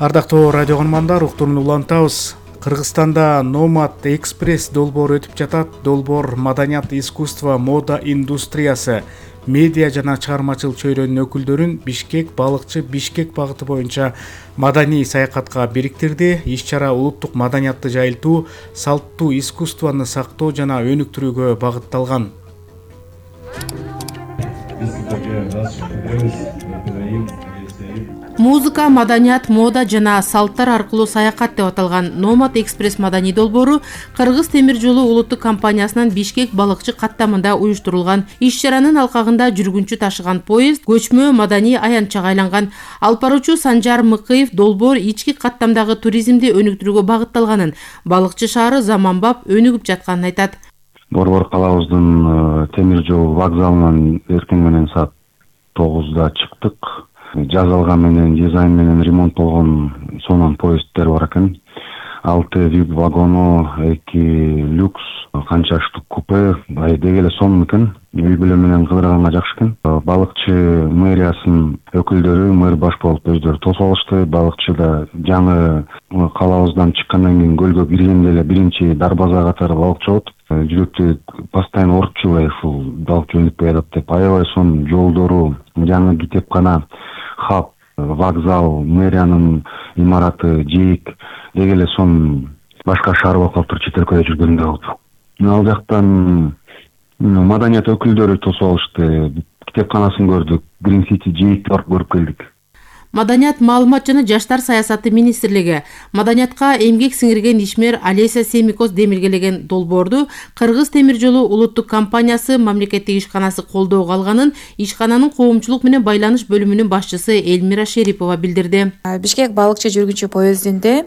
Ардактуу радио көрөрмандар, уктуруну улантабыз. Кыргызстанда Nomad Express долбоору өтүп жатат. Долбоор маданият, искусство, мода индустриясы, медиа жана чыгармачылык чөйрөнүнүн өкүлдөрүн Бишкек балыкчы Бишкек багыты боюнча маданий саякатка бириктирди. Иш-чара улуттук маданиятты жайылтуу, салттуу искусствону сактоо жана өнүктүрүүгө багытталган. Музыка, маданият, мода жана салттар аркылуу саякат деп аталган Nomad Express маданий долбоору Кыргыз темир жолу улуттук компаниясынын Бишкек балыкчы каттамында уюштурулган. Иш-чаранын алкагында жүргүнчү ташыган поезд көчмө маданий аянтчага айланган. Алып баруучу Санжар Мыкыев долбоор ички каттамдагы туризмди өнүктүрүүгө багытталганын, балыкчы шаары заманбап өнүгүп жатканын айтат. Борбор калабыздын темир жол вокзалынан эртең менен саат 9-да чыктык. Жазалган менен, дизайн менен ремонт болгон сонун поезддер бар экен. 6 VIP вагону, 2 люкс, канча штук купе, деги эле сонун экен. Үй бүлө менен кыдырганга жакшы экен. Балыкчы мэриясынын өкүлдөрү, мэр баш болуп өздөрү тосуп алышты. Балыкчыда жаңы калабыздан чыккандан кийин көлгө киргенде эле биринчи дарбаза катары балыкчы болот. Жүрөктү постоянно урчубай ушул балыкчы өнүкпөй атат деп, аябай сонун жолдору, жаңы китепкана, хаб, вокзал, мэриянын имараты, жээк деги эле сонун башка шаар болуп калыптыр чет өлкөдө жүргөндө болуп. Ал жактан маданият өкүлдөрү тосуп алышты. Китепканасын көрдүк, Green City жээкти барып көрүп келдик. Маданият, маалымат жана жаштар саясаты министрлиги маданиятка эмгек сиңирген ишмер Алеся Семикос демилгелеген долбоорду Кыргыз темир жолу улуттук компаниясы мамлекеттик ишканасы колдоого алганын ишкананын коомчулук менен байланыш бөлүмүнүн башчысы Элмира Шерипова билдирди. Бишкек балыкчы жүргүнчү поездинде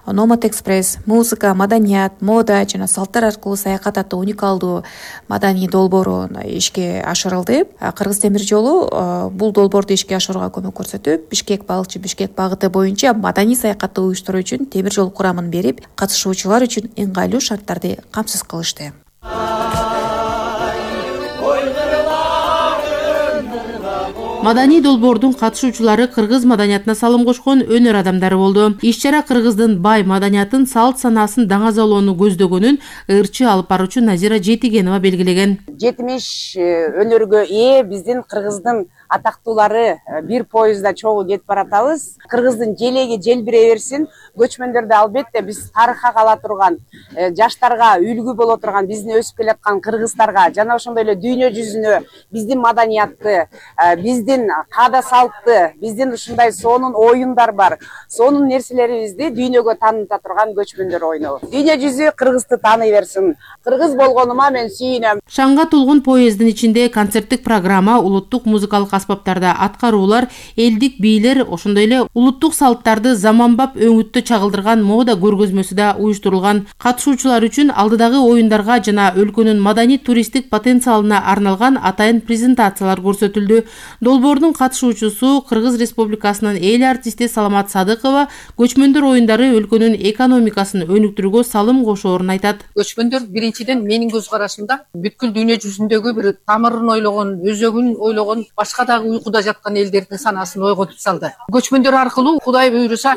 Nomad Express музыка, маданият, мода жана салттар аркылуу саякат аттуу уникалдуу маданий долбоору ишке ашырылды. Кыргыз темир жолу бул долбоорду ишке ашырууга көмөк көрсөтүп, Бишкек балыкчы Бишкек багыты боюнча маданий саякатты уюштуруу үчүн темир жол курамын берип, катышуучулар үчүн ыңгайлуу шарттарды камсыз кылышты. Маданий долбоордун катышуучулары кыргыз маданиятына салым кошкон өнөр адамдары болду. Иш-чара кыргыздын бай маданиятын, салт санаасын даңазалоону көздөгөнүн ырчы алып баруучу Назира Жетигенова белгилеген. 70 өнөргө ээ биздин кыргыздын атактуулары бир поездда чогуу кетип баратабыз. Кыргыздын желеги желбирей берсин. Көчмөндөрдө албетте биз тарыхка кала турган, жаштарга үлгү боло турган, биздин өсүп келаткан кыргыздарга жана ошондой эле дүйнө жүзүнө биздин маданиятты, биздин каада салтты, биздин ушундай сонун оюндар бар. Сонун нерселерибизди дүйнөгө тааныта турган көчмөндөр ойнобу. Дүйнө жүзү кыргызды тааный берсин. Кыргыз болгонума мен сүйүнөм. Шаңга толгон поезддин ичинде концерттик программа, улуттук музыкалык аспаптарда аткаруулар, элдик бийлер, ошондой эле улуттук салттарды заманбап өңүттө чагылдырган мода көргөзмөсү да уюштурулган. Катышуучулар үчүн алдыдагы оюндарга жана өлкөнүн маданий туристтик потенциалына арналган атайын презентациялар көрсөтүлдү. Долбоордун катышуучусу Кыргыз Республикасынын эл артисти Саламат Садыкова көчмөндөр оюндары өлкөнүн экономикасын өнүктүрүүгө салым кошоорун айтат. Көчмөндөр биринчиден менин көз карашымда бүткүл дүйнө жүзүндөгү бир тамырын ойлогон, өзөгүн ойлогон, башка дагы уйкуда жаткан элдердин санаасын ойготуп салды. Көчмөндөр аркылуу Кудай буйруса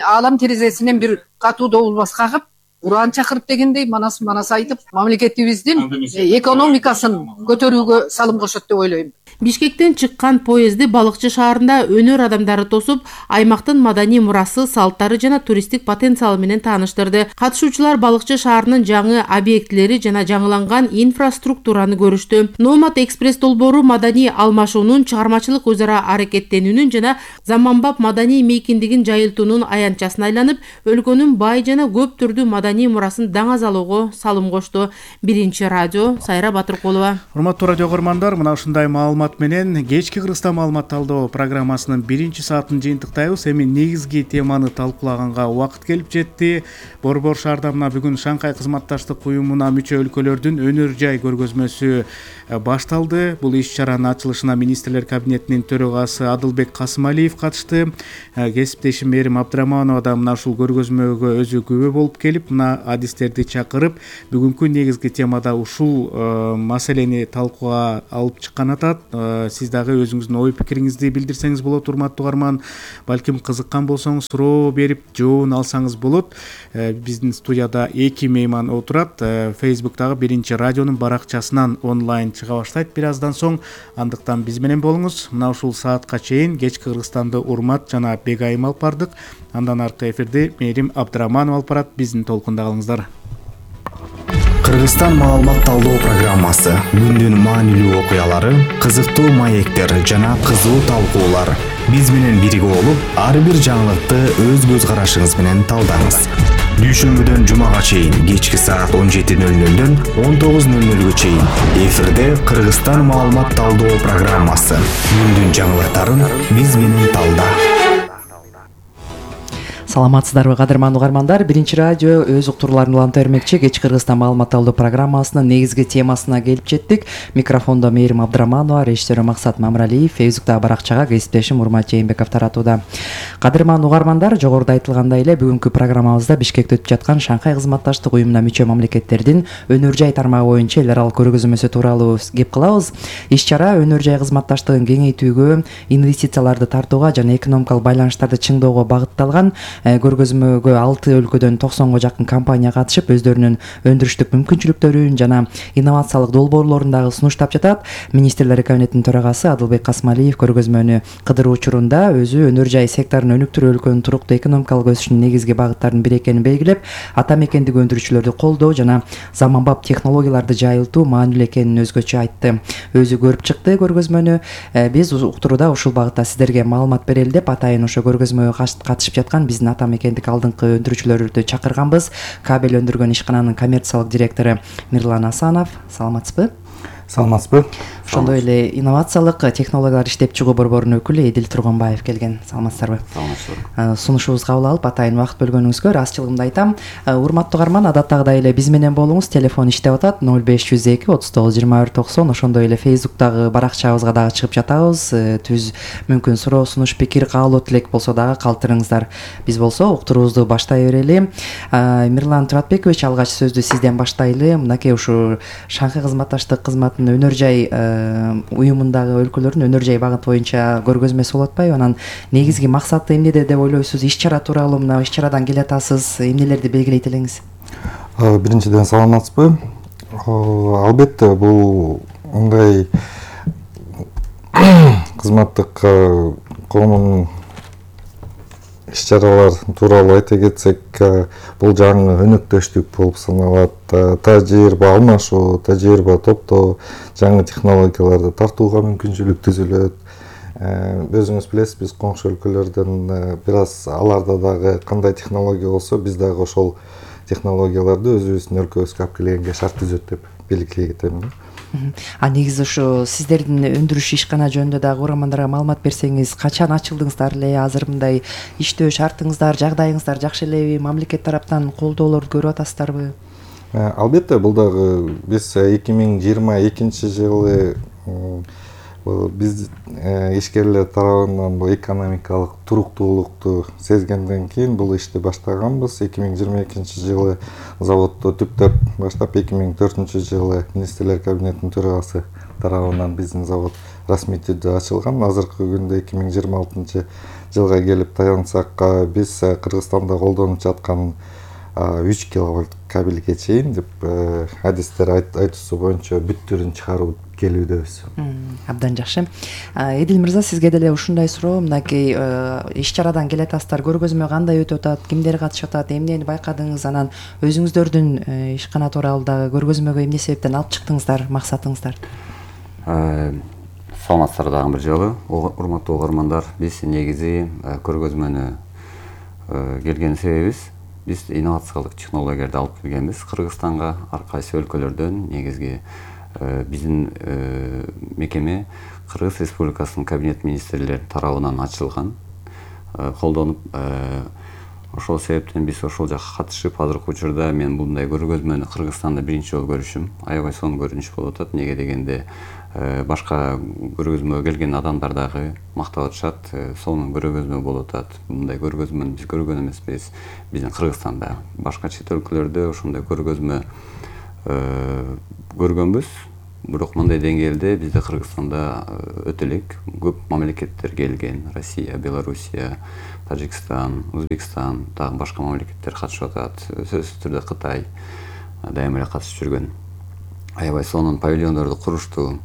алам терезесинен бир катуу добулбас кагып, уран чакырып дегендей манас айтып, мамлекетибиздин экономикасын көтөрүүгө салым кошот деп ойлойм. Бишкектен чыккан поезди балыкчы шаарында өнөр адамдары тосуп, аймактын маданий мурасы, салттары жана туристтик потенциалы менен тааныштырды. Катышуучулар балыкчы шаарынын жаңы объектилери жана жаңыланган инфраструктураны көрүштү. Nomad Express долбоору маданий алмашуунун, чыгармачылык өз ара аракеттенүүнүн жана заманбап маданий мейкиндигин жайылтуунун аянтчасына айланып, өлкөнүн бай жана көп түрдүү маданий мурасын даңазалоого салым кошту. Биринчи радио, Сайра Батыркулова. Урматтуу радио көрөрмандар, мына ушундай маалымат менен кечки Кыргызстан маалымат талдоо программасынын биринчи саатын жыйынтыктайбыз. Эми негизги теманы талкуулаганга убакыт келип жетти. Борбор шаарда мына бүгүн Шанхай кызматташтык уюмуна мүчө өлкөлөрдүн өнөр жай көргөзмөсү башталды. Бул иш-чаранын ачылышына министрлер кабинетинин төрагасы Адылбек Касымалиев катышты. Кесиптешим Эрим Абдыраманова да мына ушул көргөзмөгө өзү күбө болуп келип, жана адистерди чакырып бүгүнкү негизги темада ушул маселени талкууга алып чыккан атат. Сиз дагы өзүңүздүн ой пикириңизди билдирсеңиз болот, урматтуу угарман. Балким кызыккан болсоңуз суроо берип жообун алсаңыз болот. Биздин студияда 2 мейман отурат. Facebook'тагы Биринчи радионун баракчасынан онлайн чыга баштайт бир аздан соң. Андыктан биз менен болуңуз. Мына ушул саатка чейин кечки Кыргызстанды Урмат жана Бегайым алып бардык. Андан аркы эфирди Мээрим Абдыраманова алып барат. Биздин толкунда калыңыздар. Кыргызстан маалымат талдоо программасы, күндүн маанилүү окуялары, кызыктуу маектер жана кызуу талкуулар. Биз менен бирге болуп, ар бир жаңылыкты өз көз карашыңыз менен талдаңыз. Дүйшөмбүдөн жумага чейин кечки саат 17:00дөн 19:00га чейин эфирде Кыргызстан маалымат талдоо программасы. Күндүн жаңылыктарын биз менен талда. Саламатсыздарбы кадырман угармандар, Биринчи радио өз уктурууларын уланта бермекчи кечки Кыргызстан маалымат талдоо программасынын негизги темасына келип жеттик. Микрофондо Мээрим Абдыраманова, режиссеру Максат Мамралиев, Facebook'тагы баракчага кесиптешим Урмат Жээнбеков таратууда. Кадырман угармандар, жогоруда айтылгандай эле бүгүнкү программабызда Бишкекте өтүп жаткан Шанхай кызматташтык уюмуна мүчө мамлекеттердин өнөр жай тармагы боюнча эл аралык көргөзмөсү тууралуу кеп кылабыз. Иш-чара өнөр жай кызматташтыгын кеңейтүүгө, инвестицияларды тартууга жана экономикалык байланыштарды чыңдоого багытталган. Көргөзмөгө 6 өлкөдөн 90га жакын компания катышып, өздөрүнүн өндүрүштүк мүмкүнчүлүктөрүн жана инновациялык долбоорлорун дагы сунуштап жатат. Министрлер кабинетинин төрагасы Адылбек Касмалиев көргөзмөнү кыдыруу учурунда өзү өнөр жай секторун өнүктүрүү өлкөнүн туруктуу экономикалык өсүшүнүн негизги багыттарынын бири экенин белгилеп, ата мекендик өндүрүүчүлөрдү колдоо жана заманбап технологияларды жайылтуу маанилүү экенин өзгөчө айтты. Өзү көрүп чыкты көргөзмөнү. Биз уктурууда ушул багытта сиздерге маалымат берели деп атайын ошо көргөзмөгө катышып жаткан биздин ата мекендик алдыңкы өндүрүүчүлөрдү чакырганбыз. Кабель өндүргөн ишкананын коммерциялык директору Мирлан Асанов, саламатсызбы? Саламатсызбы? Ошондой эле инновациялык технологиялар иштеп чыгуу борборунун өкүлү Эдил Тургунбаев келген. Саламатсыздарбы? Саламатсыздар. Сунушубузду кабыл алып, атайын убакыт бөлгөнүңүзгө ыраазычылыгымды айтам. Урматтуу угарман, адаттагыдай эле биз менен болуңуз. Телефон иштеп атат 0502 39 21 90. Ошондой эле Facebook'тагы баракчабызга дагы чыгып жатабыз. Түз мүмкүн суроо, сунуш, пикир, каалоо, тилек болсо дагы калтырыңыздар. Биз болсо уктуруубузду баштай берели. Мирлан Туратбекович, алгач сөздү сизден баштайлы. Мынакей ушу Шанхай кызматташтык кызматынын өнөр жай уюмундагы өлкөлөрдүн өнөр жай багыт боюнча көргөзмөсү болуп атпайбы? Анан негизги максаты эмнеде деп ойлойсуз? Иш-чара тууралуу мына иш-чарадан келатасыз, эмнелерди белгилейт элеңиз? Биринчиден саламатсызбы? Албетте бул мындай кызматтык коомдун иш-чаралар тууралуу айта кетсек, бул жаңы өнөктөштүк болуп саналат. Тажрыйба алмашуу, тажрыйба топтоо, жаңы технологияларды тартууга мүмкүнчүлүк түзүлөт. Өзүңүз билесиз, биз коңшу өлкөлөрдөн бир аз аларда дагы кандай технология болсо, биз дагы ошол технологияларды өзүбүздүн өлкөбүзгө алып келгенге шарт түзөт деп белгилей кетемин. Негизи ушу сиздердин өндүрүш ишкана жөнүндө дагы угармандарга маалымат берсеңиз, качан ачылдыңыздар эле, азыр мындай иштөө шартыңыздар, жагдайыңыздар жакшы элеби, мамлекет тараптан колдоолорду көрүп атасыздарбы? Албетте, бул дагы биз 2022 жылы биз ишкерлер тарабынан бул экономикалык туруктуулукту сезгенден кийин бул ишти баштаганбыз. 2022 жылы заводду түптөп баштап, 2004 жылы министрлер кабинетинин төрагасы тарабынан биздин завод расмий түрдө ачылган. Азыркы күндө 2026 жылга келип таянсак, биз Кыргызстанда колдонуп жаткан 3 киловольт кабелге чейин деп адистер айтуусу боюнча бүт түрүн чыгаруу келүүдөбүз. Абдан жакшы. Эдил мырза, сизге деле ушундай суроо. Мынакей иш-чарадан келатасыздар, көргөзмө кандай өтүп атат, кимдер катышып атат, эмнени байкадыңыз, анан өзүңүздөрдүн ишкана тууралуу дагы көргөзмөгө эмне себептен алып чыктыңыздар, максатыңыздар? Саламатсыздар дагы бир жолу. Урматтуу угармандар, биз негизи көргөзмөнү келген себебибиз, биз инновациялык технологияларды алып келгенбиз Кыргызстанга. Ар кайсы өлкөлөрдөн негизги биздин мекеме Кыргыз Республикасынын кабинет министрлери тарабынан ачылган, колдонуп Ошол себептен биз ошол жакка катышып, азыркы учурда мен мындай көргөзмөнү Кыргызстанда биринчи жолу көрүшүм. Аябай сонун көрүнүш болуп атат. Неге дегенде башка көргөзмөгө келген адамдар дагы мактап атышат. Сонун көргөзмө болуп атат. Мындай көргөзмөнү биз көргөн эмеспиз. Биздин Кыргызстанда башка чет өлкөлөрдө ошондой көргөзмө көргөнбүз. Бирок мындай деңгээлде бизде Кыргызстанда өтө элек көп мамлекеттер келген. Россия, Белоруссия, Тажикстан, Өзбекстан, дагы башка мамлекеттер катышып атат. Сөзсүз түрдө Кытай дайыма эле катышып жүргөн. Аябай сонун павильондорду курушту.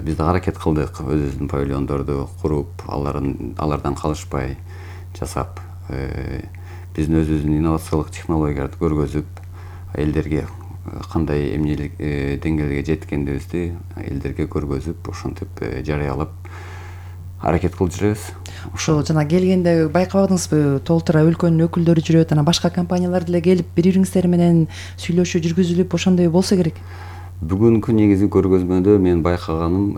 Биз да аракет кылдык өзүбүздүн павильондорду куруп, алардан калышпай жасап, биздин өзүбүздүн инновациялык технологияларды көргөзүп, элдерге кандай эмнелик деңгээлге жеткендибизди элдерге көргөзүп, ошентип жарыялап аракет кылып жүрөбүз. Ошо жана келгенде байкабадыңызбы, толтура өлкөнүн өкүлдөрү жүрөт, анан башка компаниялар деле келип бири-бириңиздер менен сүйлөшүү жүргүзүлүп, ошондой болсо керек. Бүгүнкү негизи көргөзмөдө мен байкаганым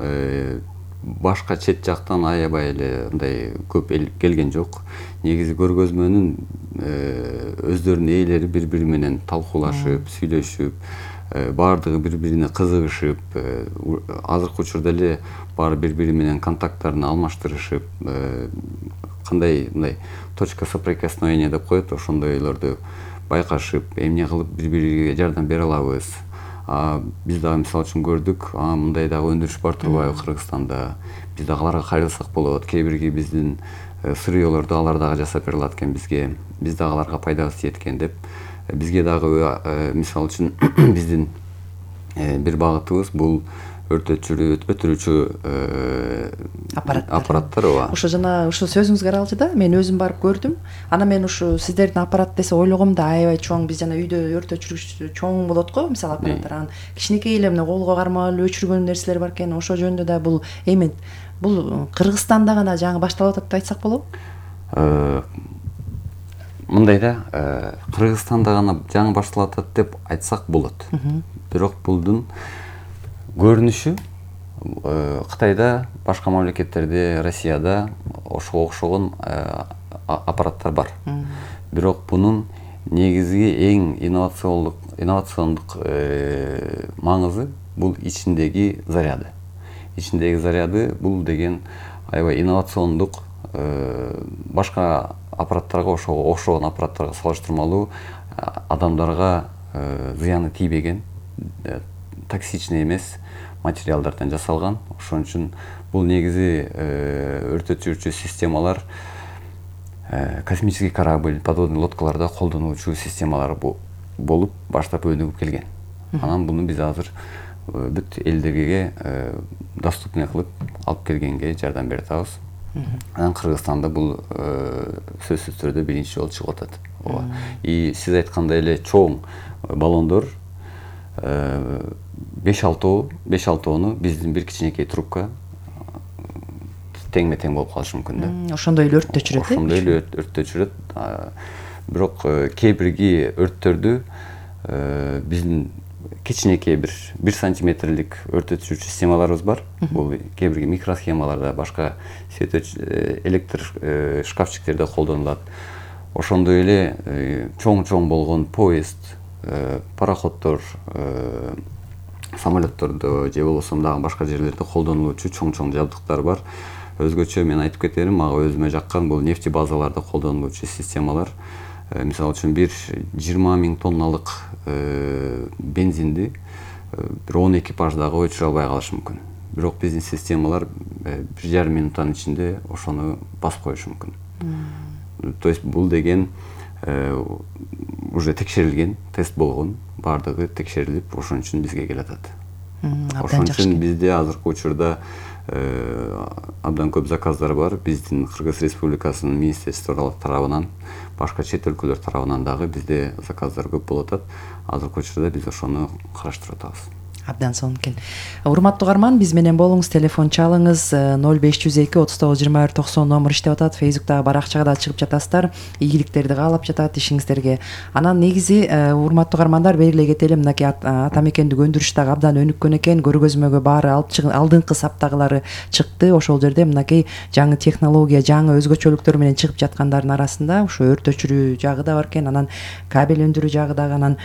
башка чет жактан аябай эле мындай көп эл келген жок. Негизи көргөзмөнүн өздөрүнүн ээлери бири-бири менен талкуулашып, сүйлөшүп, баардыгы бири-бирине кызыгышып, азыркы учурда эле баары бири-бири менен контакттарын алмаштырышып, кандай мындай точка соприкосновения деп коет, ошондойлорду байкашып, эмне кылып бири-бириге жардам бере алабыз. Биз дагы мисалы үчүн көрдүк, мындай дагы өндүрүш бар турбайбы Кыргызстанда. Биз дагы аларга кайрылсак болот. Кээ бирги биздин сырыёлорду алар дагы жасап бере алат экен бизге. Биз дагы аларга пайдабыз тиет экен деп. Бизге дагы мисалы үчүн биздин бир багытыбыз бул өтүрүүчү аппараттар. Ошо жана ошо сөзүңүзгө аралчы да, мен өзүм барып көрдүм. Анан мен ушу сиздердин аппарат десе ойлогом да, аябай чоң. Биз жана үйдө өрт өчүргүч чоң болот го, мисалы аппараттар. Анан кичинекей эле мына колго кармап эле өчүргөн нерселер бар экен. Ошо жөнүндө да бул эми бул Кыргызстанда гана жаңы башталып атат деп айтсак болобу? Мындай да, Кыргызстанда гана жаңы башталып атат деп айтсак болот. Бирок булдун көрүнүшү Кытайда, башка мамлекеттерде, Россияда ошого окшогон аппараттар бар. Бирок бунун негизги эң инновациондук маңызы бул ичиндеги заряды. Ичиндеги заряды бул деген аябай инновациондук, башка аппараттарга окшогон аппараттарга салыштырмалуу адамдарга зыяны тийбеген, токсичный эмес материалдардан жасалган. Ошон үчүн бул негизи өрт өчүрүүчү системалар космический корабль, подводный лодкаларда колдонулуучу системалар болуп баштап өнүгүп келген. Анан буну биз азыр бүт элдерге доступный кылып алып келгенге жардам берип атабыз. Анан Кыргызстанда бул сөзсүз түрдө биринчи жолу чыгып атат. И сиз айткандай эле чоң баллондор 5-6 биздин бир кичинекей трубка теңме-тең болуп калышы мүмкүн да. Ошондой эле өрттө жүрөт. Ошондой эле өрттө жүрөт. Бирок кээ бирги өрттөрдү биздин кичинекей 1 сантиметрлик өрт өчүрүүчү системаларыбыз бар. Бул кээ бирги микросхемаларда, башка электр шкафчиктерде колдонулат. Ошондой эле чоң болгон поезд, пароходдор, самолеттордо же болбосо дагы башка жерлерде колдонулуучу чоң жабдыктар бар. Өзгөчө мен айтып кетерим, мага өзүмө жаккан бул нефти базаларда колдонулуучу системалар. Мисалы үчүн 20 000 тонналык бензинди бир 10 экипаждагы өчүрө албай калышы мүмкүн. Бирок биздин системалар 1,5 минуттан ичинде ошону басып коюшу мүмкүн. То есть бул деген уже текшерилген, тест болгон, баардыгы текшерилип, ошон үчүн бизге келатат. Ошон үчүн бизде азыркы учурда абдан көп заказдар бар. Биздин Кыргыз Республикасынын министрликтери тарабынан, башка чет өлкөлөр тарабынан дагы бизде заказдар көп болуп атат. Азыркы учурда биз ошону караштырып атабыз. Абдан сонун экен. Урматтуу угарман, биз менен болуңуз, телефон чалыңыз 0502 39 21 90 номер иштеп атат. Фейсбуктагы баракчага да чыгып жатасыздар. Ийгиликтерди каалап жатат ишиңиздерге. Анан негизи урматтуу угармандар, белгилей кетели, мынакей ата мекендик өндүрүш дагы абдан өнүккөн экен. Көргөзмөгө баары алдыңкы саптагылары чыкты. Ошол жерде мынакей жаңы технология, жаңы өзгөчөлүктөр менен чыгып жаткандардын арасында ушу өрт өчүрүү жагы да бар экен. Анан кабель өндүрүү жагы дагы. Анан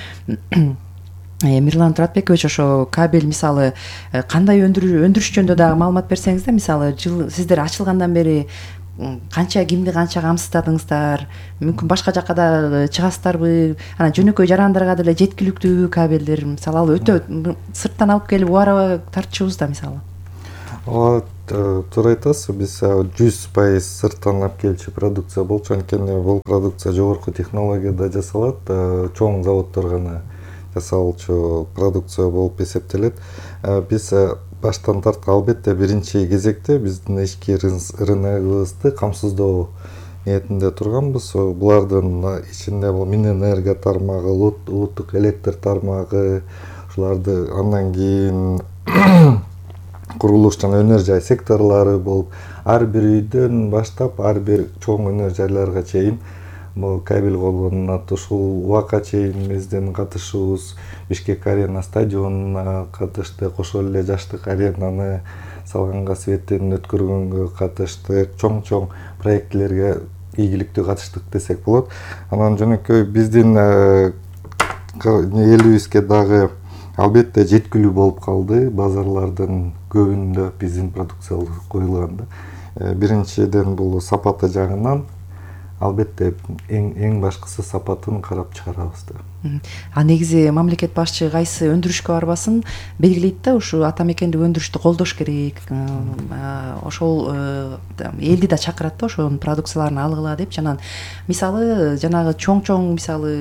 Мирлан Туратбекович, ошо кабель мисалы кандай өндүрүш жөнүндө дагы маалымат берсеңиз да, мисалы сиздер ачылгандан бери канча кимди канча камсыздадыңыздар, мүмкүн башка жакка да чыгасыздарбы, анан жөнөкөй жарандарга деле жеткиликтүүбү кабелдер, мисалы ал өтө сырттан алып келип убара тартчубуз да мисалы. Ооба, туура айтасыз. Биз 100% сырттан алып келчү продукция болчу, анткени бул продукция жогорку технологияда жасалат, чоң заводдор гана жасалчу продукция болуп эсептелет. Биз баштан тарткан албетте биринчи кезекте биздин ички рыногубузду камсыздоо ниетинде турганбыз. Булардын ичинде бул Минэнерго тармагы, улуттук электр тармагы, ушуларды андан кийин курулуш жана өнөр жай секторлору болуп, ар бир үйдөн баштап ар бир чоң өнөр жайларга чейин бул кабель колдонулат. Ушул убакка чейин биздин катышуубуз Бишкек арена стадионуна катышты, ошол эле жаштык аренаны салганга, светтин өткөргөнгө катыштык, чоң проектилерге ийгиликтүү катыштык десек болот. Анан жөнөкөй биздин элибизге дагы албетте жеткилүү болуп калды. Базарлардын көбүндө биздин продукциялар коюлганда, биринчиден бул сапаты жагынан албетте эң башкысы сапатын карап чыгарабыз да. Негизи мамлекет башчы кайсы өндүрүшкө барбасын белгилейт да, ушу ата мекендик өндүрүштү колдош керек. Ошол элди да чакырат да, ошонун продукцияларын алгыла депчи. Анан мисалы жанагы чоң мисалы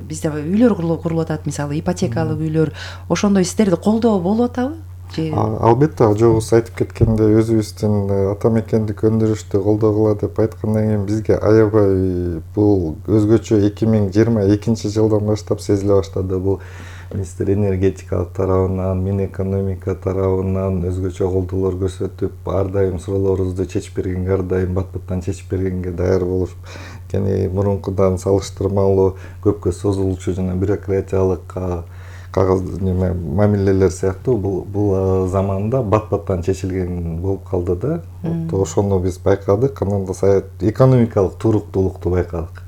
бизде үйлөр курулуп атат, мисалы ипотекалык үйлөр, ошондой сиздерди колдоо болуп атабы? Албетте, жогубуз айтып кеткендей, өзүбүздүн ата мекендик өндүрүштү колдогула деп айткандан кийин бизге аябай бул өзгөчө 2022 жылдан баштап сезиле баштады. Бул министр энергетикалык тарабынан, Минэкономика тарабынан өзгөчө колдоолор көрсөтүп, ар дайым суроолорубузду чечип бергенге, ар дайым бат-баттан чечип бергенге даяр болушуп, анткени мурункудан салыштырмалуу көпкө созулчу жана бюрократиялык мамилелер сыяктуу бул заманда бат-баттан чечилген болуп калды да. Ошону биз байкадык, анан да экономикалык туруктуулукту байкадык.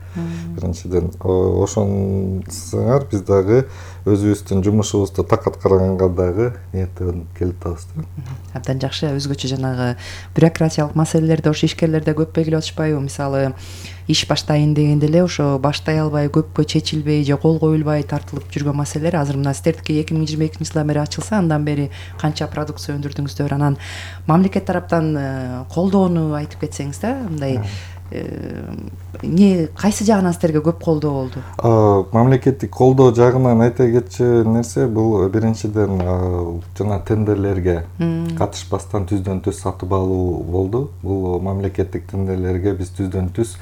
Биринчиден, ошонусуңар биз дагы өзүбүздүн жумушубузду так аткарганга дагы ниеттенип келип атабыз да. Абдан жакшы. Өзгөчө жанагы бюрократиялык маселелерди ошо ишкерлерде көп белгилеп атышпайбы? Мисалы иш баштайын дегенде эле ошо баштай албай, көпкө чечилбей же кол коюлбай тартылып жүргөн маселелер азыр мына сиздердики 2022 жылдан бери ачылса, андан бери канча продукция өндүрдүңүздөр? Анан мамлекет тараптан колдоону айтып кетсеңиз да, мындай кайсы жагынан сиздерге көп колдоо болду? Мамлекеттик колдоо жагынан айта кетчү нерсе бул биринчиден жана тендерлерге катышпастан түздөн түз сатып алуу болду. Бул мамлекеттик тендерлерге биз түздөн түз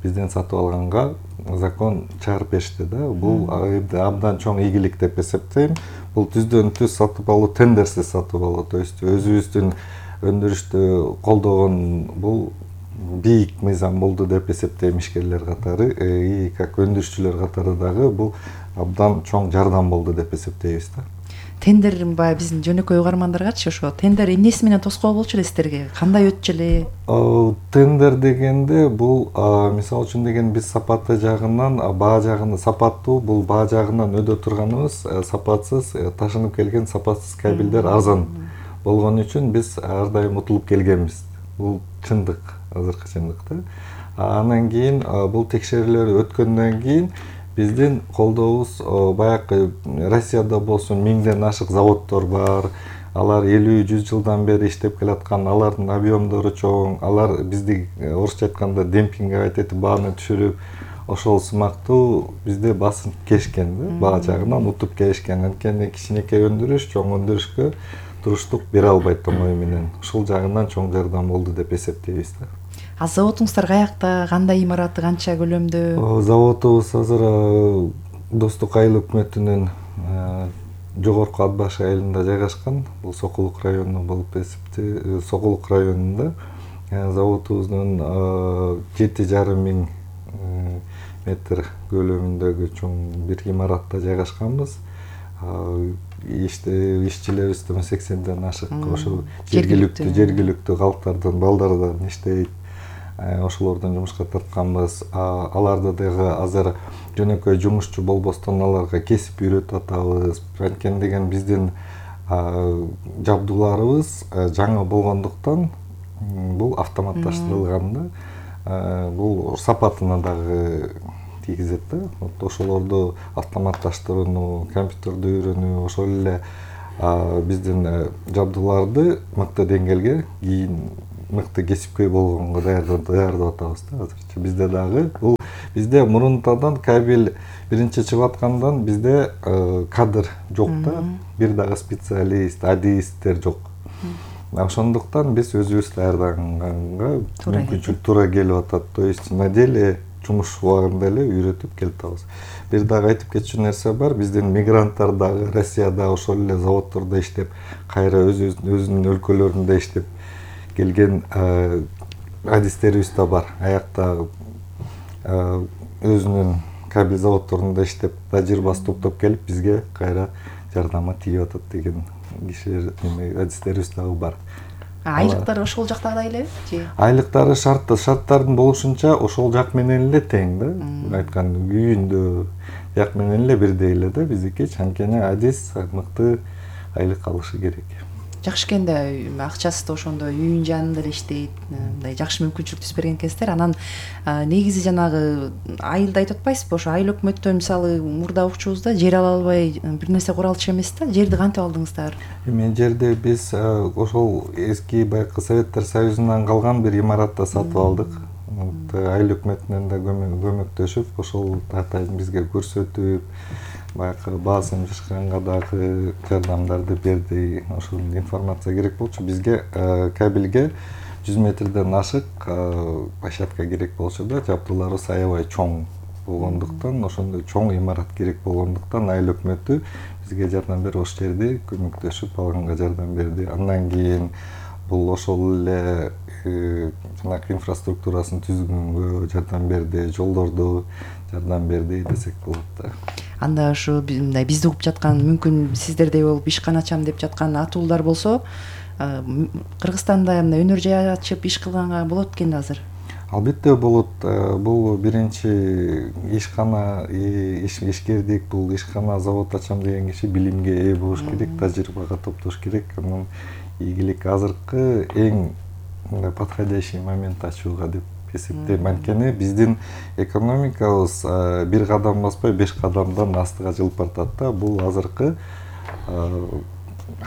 бизден сатып алганга закон чыгарып беришти да. Бул абдан чоң ийгилик деп эсептейм. Бул түздөн түз сатып алуу, тендерсиз сатып алуу, то есть өзүбүздүн өндүрүштү колдогон бул бийик мыйзам болду деп эсептейм ишкерлер катары, и как өндүрүшчүлөр катары дагы бул абдан чоң жардам болду деп эсептейбиз да. Тендер баягы биздин жөнөкөй угармандаргачы ошо тендер эмнеси менен тоскоол болчу эле сиздерге? Кандай өтчү эле? Тендер дегенде бул мисалы үчүн деген биз сапаты жагынан, баа жагында сапаттуу, бул баа жагынан өдө турганыбыз сапатсыз ташынып келген сапатсыз кабелдер арзан болгон үчүн биз ар дайым утулуп келгенбиз. Бул чындык, азыркы чындык да. Андан кийин бул текшерүүлөр өткөндөн кийин биздин колдообуз баягы Россияда болсун 1000ден ашык заводдор бар. Алар 50-100 жылдан бери иштеп келаткан, алардын объемдору чоң. Алар бизди орусча айтканда демпингге айтып бааны түшүрүп, ошол сымактуу бизде басып келишкен да, баа жагынан утуп келишкен. Анткени кичинекей өндүрүш чоң өндүрүшкө туруштук бере албайт оңой менен. Ушул жагынан чоң жардам болду деп эсептейбиз да. Заводуңуздар каякта, кандай имараты, канча көлөмдө? Заводубуз азыр Достук айыл өкмөтүнүн жогорку ат башы айылында жайгашкан. Бул Сокулук району болуп эсептелет. Сокулук районунда заводубуздун 7,5 миң метр көлөмүндөгү чоң бир имаратта жайгашканбыз. Ишчилерибиз 80ден ашык ошол жергиликтүү калктардан, балдардан иштейт. Ошолордун жумушка тартканбыз. Аларды дагы азыр жөнөкөй жумушчу болбостон аларга кесип үйрөтүп атабыз. Анткени деген биздин жабдууларыбыз жаңы болгондуктан бул автоматташтырылган да. Бул сапатына дагы тийгизет да. Ошолорду автоматташтырууну, компьютерди үйрөнүү, ошол эле биздин жабдууларды мыкты деңгээлге, кийин мыкты кесипкөй болгонго даярдап атабыз да азырча. Бизде дагы бул бизде мурунтадан кабель биринчи чыгып аткандан бизде кадр жок да. Бир дагы специалист, адистер жок. Ошондуктан биз өзүбүз даярдаганга мүмкүнчүлүк туура келип атат. То есть на деле жумуш убагында эле үйрөтүп келип атабыз. Бир дагы айтып кетчү нерсе бар. Биздин мигранттар дагы Россияда ошол эле заводдордо иштеп, кайра өзүнүн өлкөлөрүндө иштеп келген адистерибиз да бар. Аякта өзүнүн кабель заводдорунда иштеп, тажрыйбасы топтоп келип бизге кайра жардама тийип атат деген кишилер, адистерибиз дагы бар. Айлыктары ошол жактагыдай элеби же? Айлыктары шарттардын болушунча ошол жак менен эле тең да. Айткан күйүндө жак менен эле бирдей эле да биздики. Анткени адис мыкты айлык алышы керек. Жакшы экен да, акчасы да ошондо үйүнүн жанында эле иштейт. Мындай жакшы мүмкүнчүлүк түзүп берген экенсиздер. Анан негизи жанагы айылда айтып атпайсызбы, ошо айыл өкмөттөн мисалы мурда укчубузда жер ала албай бир нерсе кура алчу эмес да. Жерди кантип алдыңыздар? Эми жерди биз ошол эски байкы Советтер Союзунан калган бир имаратта сатып алдык. Айыл өкмөтүнөн да көмөктөшүп, ошол атайын бизге көрсөтүп, байкы баазым жашканга дагы жардамдарды берди. Ошол информация керек болчу. Бизге кабелге 100 метрден ашык площадка керек болчу да. Жабдууларыбыз аябай чоң болгондуктан, ошондой чоң имарат керек болгондуктан айыл өкмөтү бизге жардам берип, ошол жерди көмөктөшүп алганга жардам берди. Андан кийин бул ошол эле жанагы инфраструктурасын түзгөнгө жардам берди, жолдорду жардам берди десек болот да. Анда ушу мындай бизди угуп жаткан, мүмкүн сиздердей болуп ишкана ачам деп жаткан атуулар болсо, Кыргызстанда мындай өнөр жай ачып иш кылганга болот экен да азыр. Албетте болот. Бул биринчи ишкана ишкердик, бул ишкана завод ачам деген киши билимге ээ болуш керек, тажрыйбага топтош керек. Анан ийгилик азыркы эң подходящий момент ачууга деп эсептейм. Анткени биздин экономикабыз бир кадам баспай 5 кадамдан астыга жылып баратат да. Бул азыркы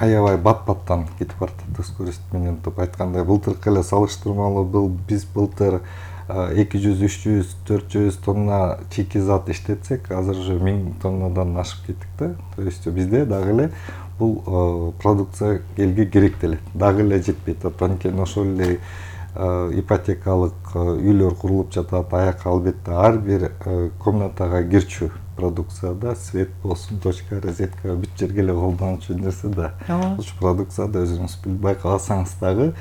аябай бат-баттан кетип баратат скорость менен. Деп айткандай, былтыркы эле салыштырмалуу биз былтыр 200, 300, 400 тонна чекизат иштетсек, азыр уже 1000 тоннадан ашып кеттик да. То есть бизде дагы эле бул продукция элге керек деле. Дагы эле жетпей атат. Анткени ошол эле ипотекалык үйлөр курулуп жатат. Аяк албетте ар бир комнатага кирчү продукцияда свет болсун, точка, розетка бүт жерге эле колдончу нерсе да. Ошол продукцияда өзүңүз байкасаңыз дагы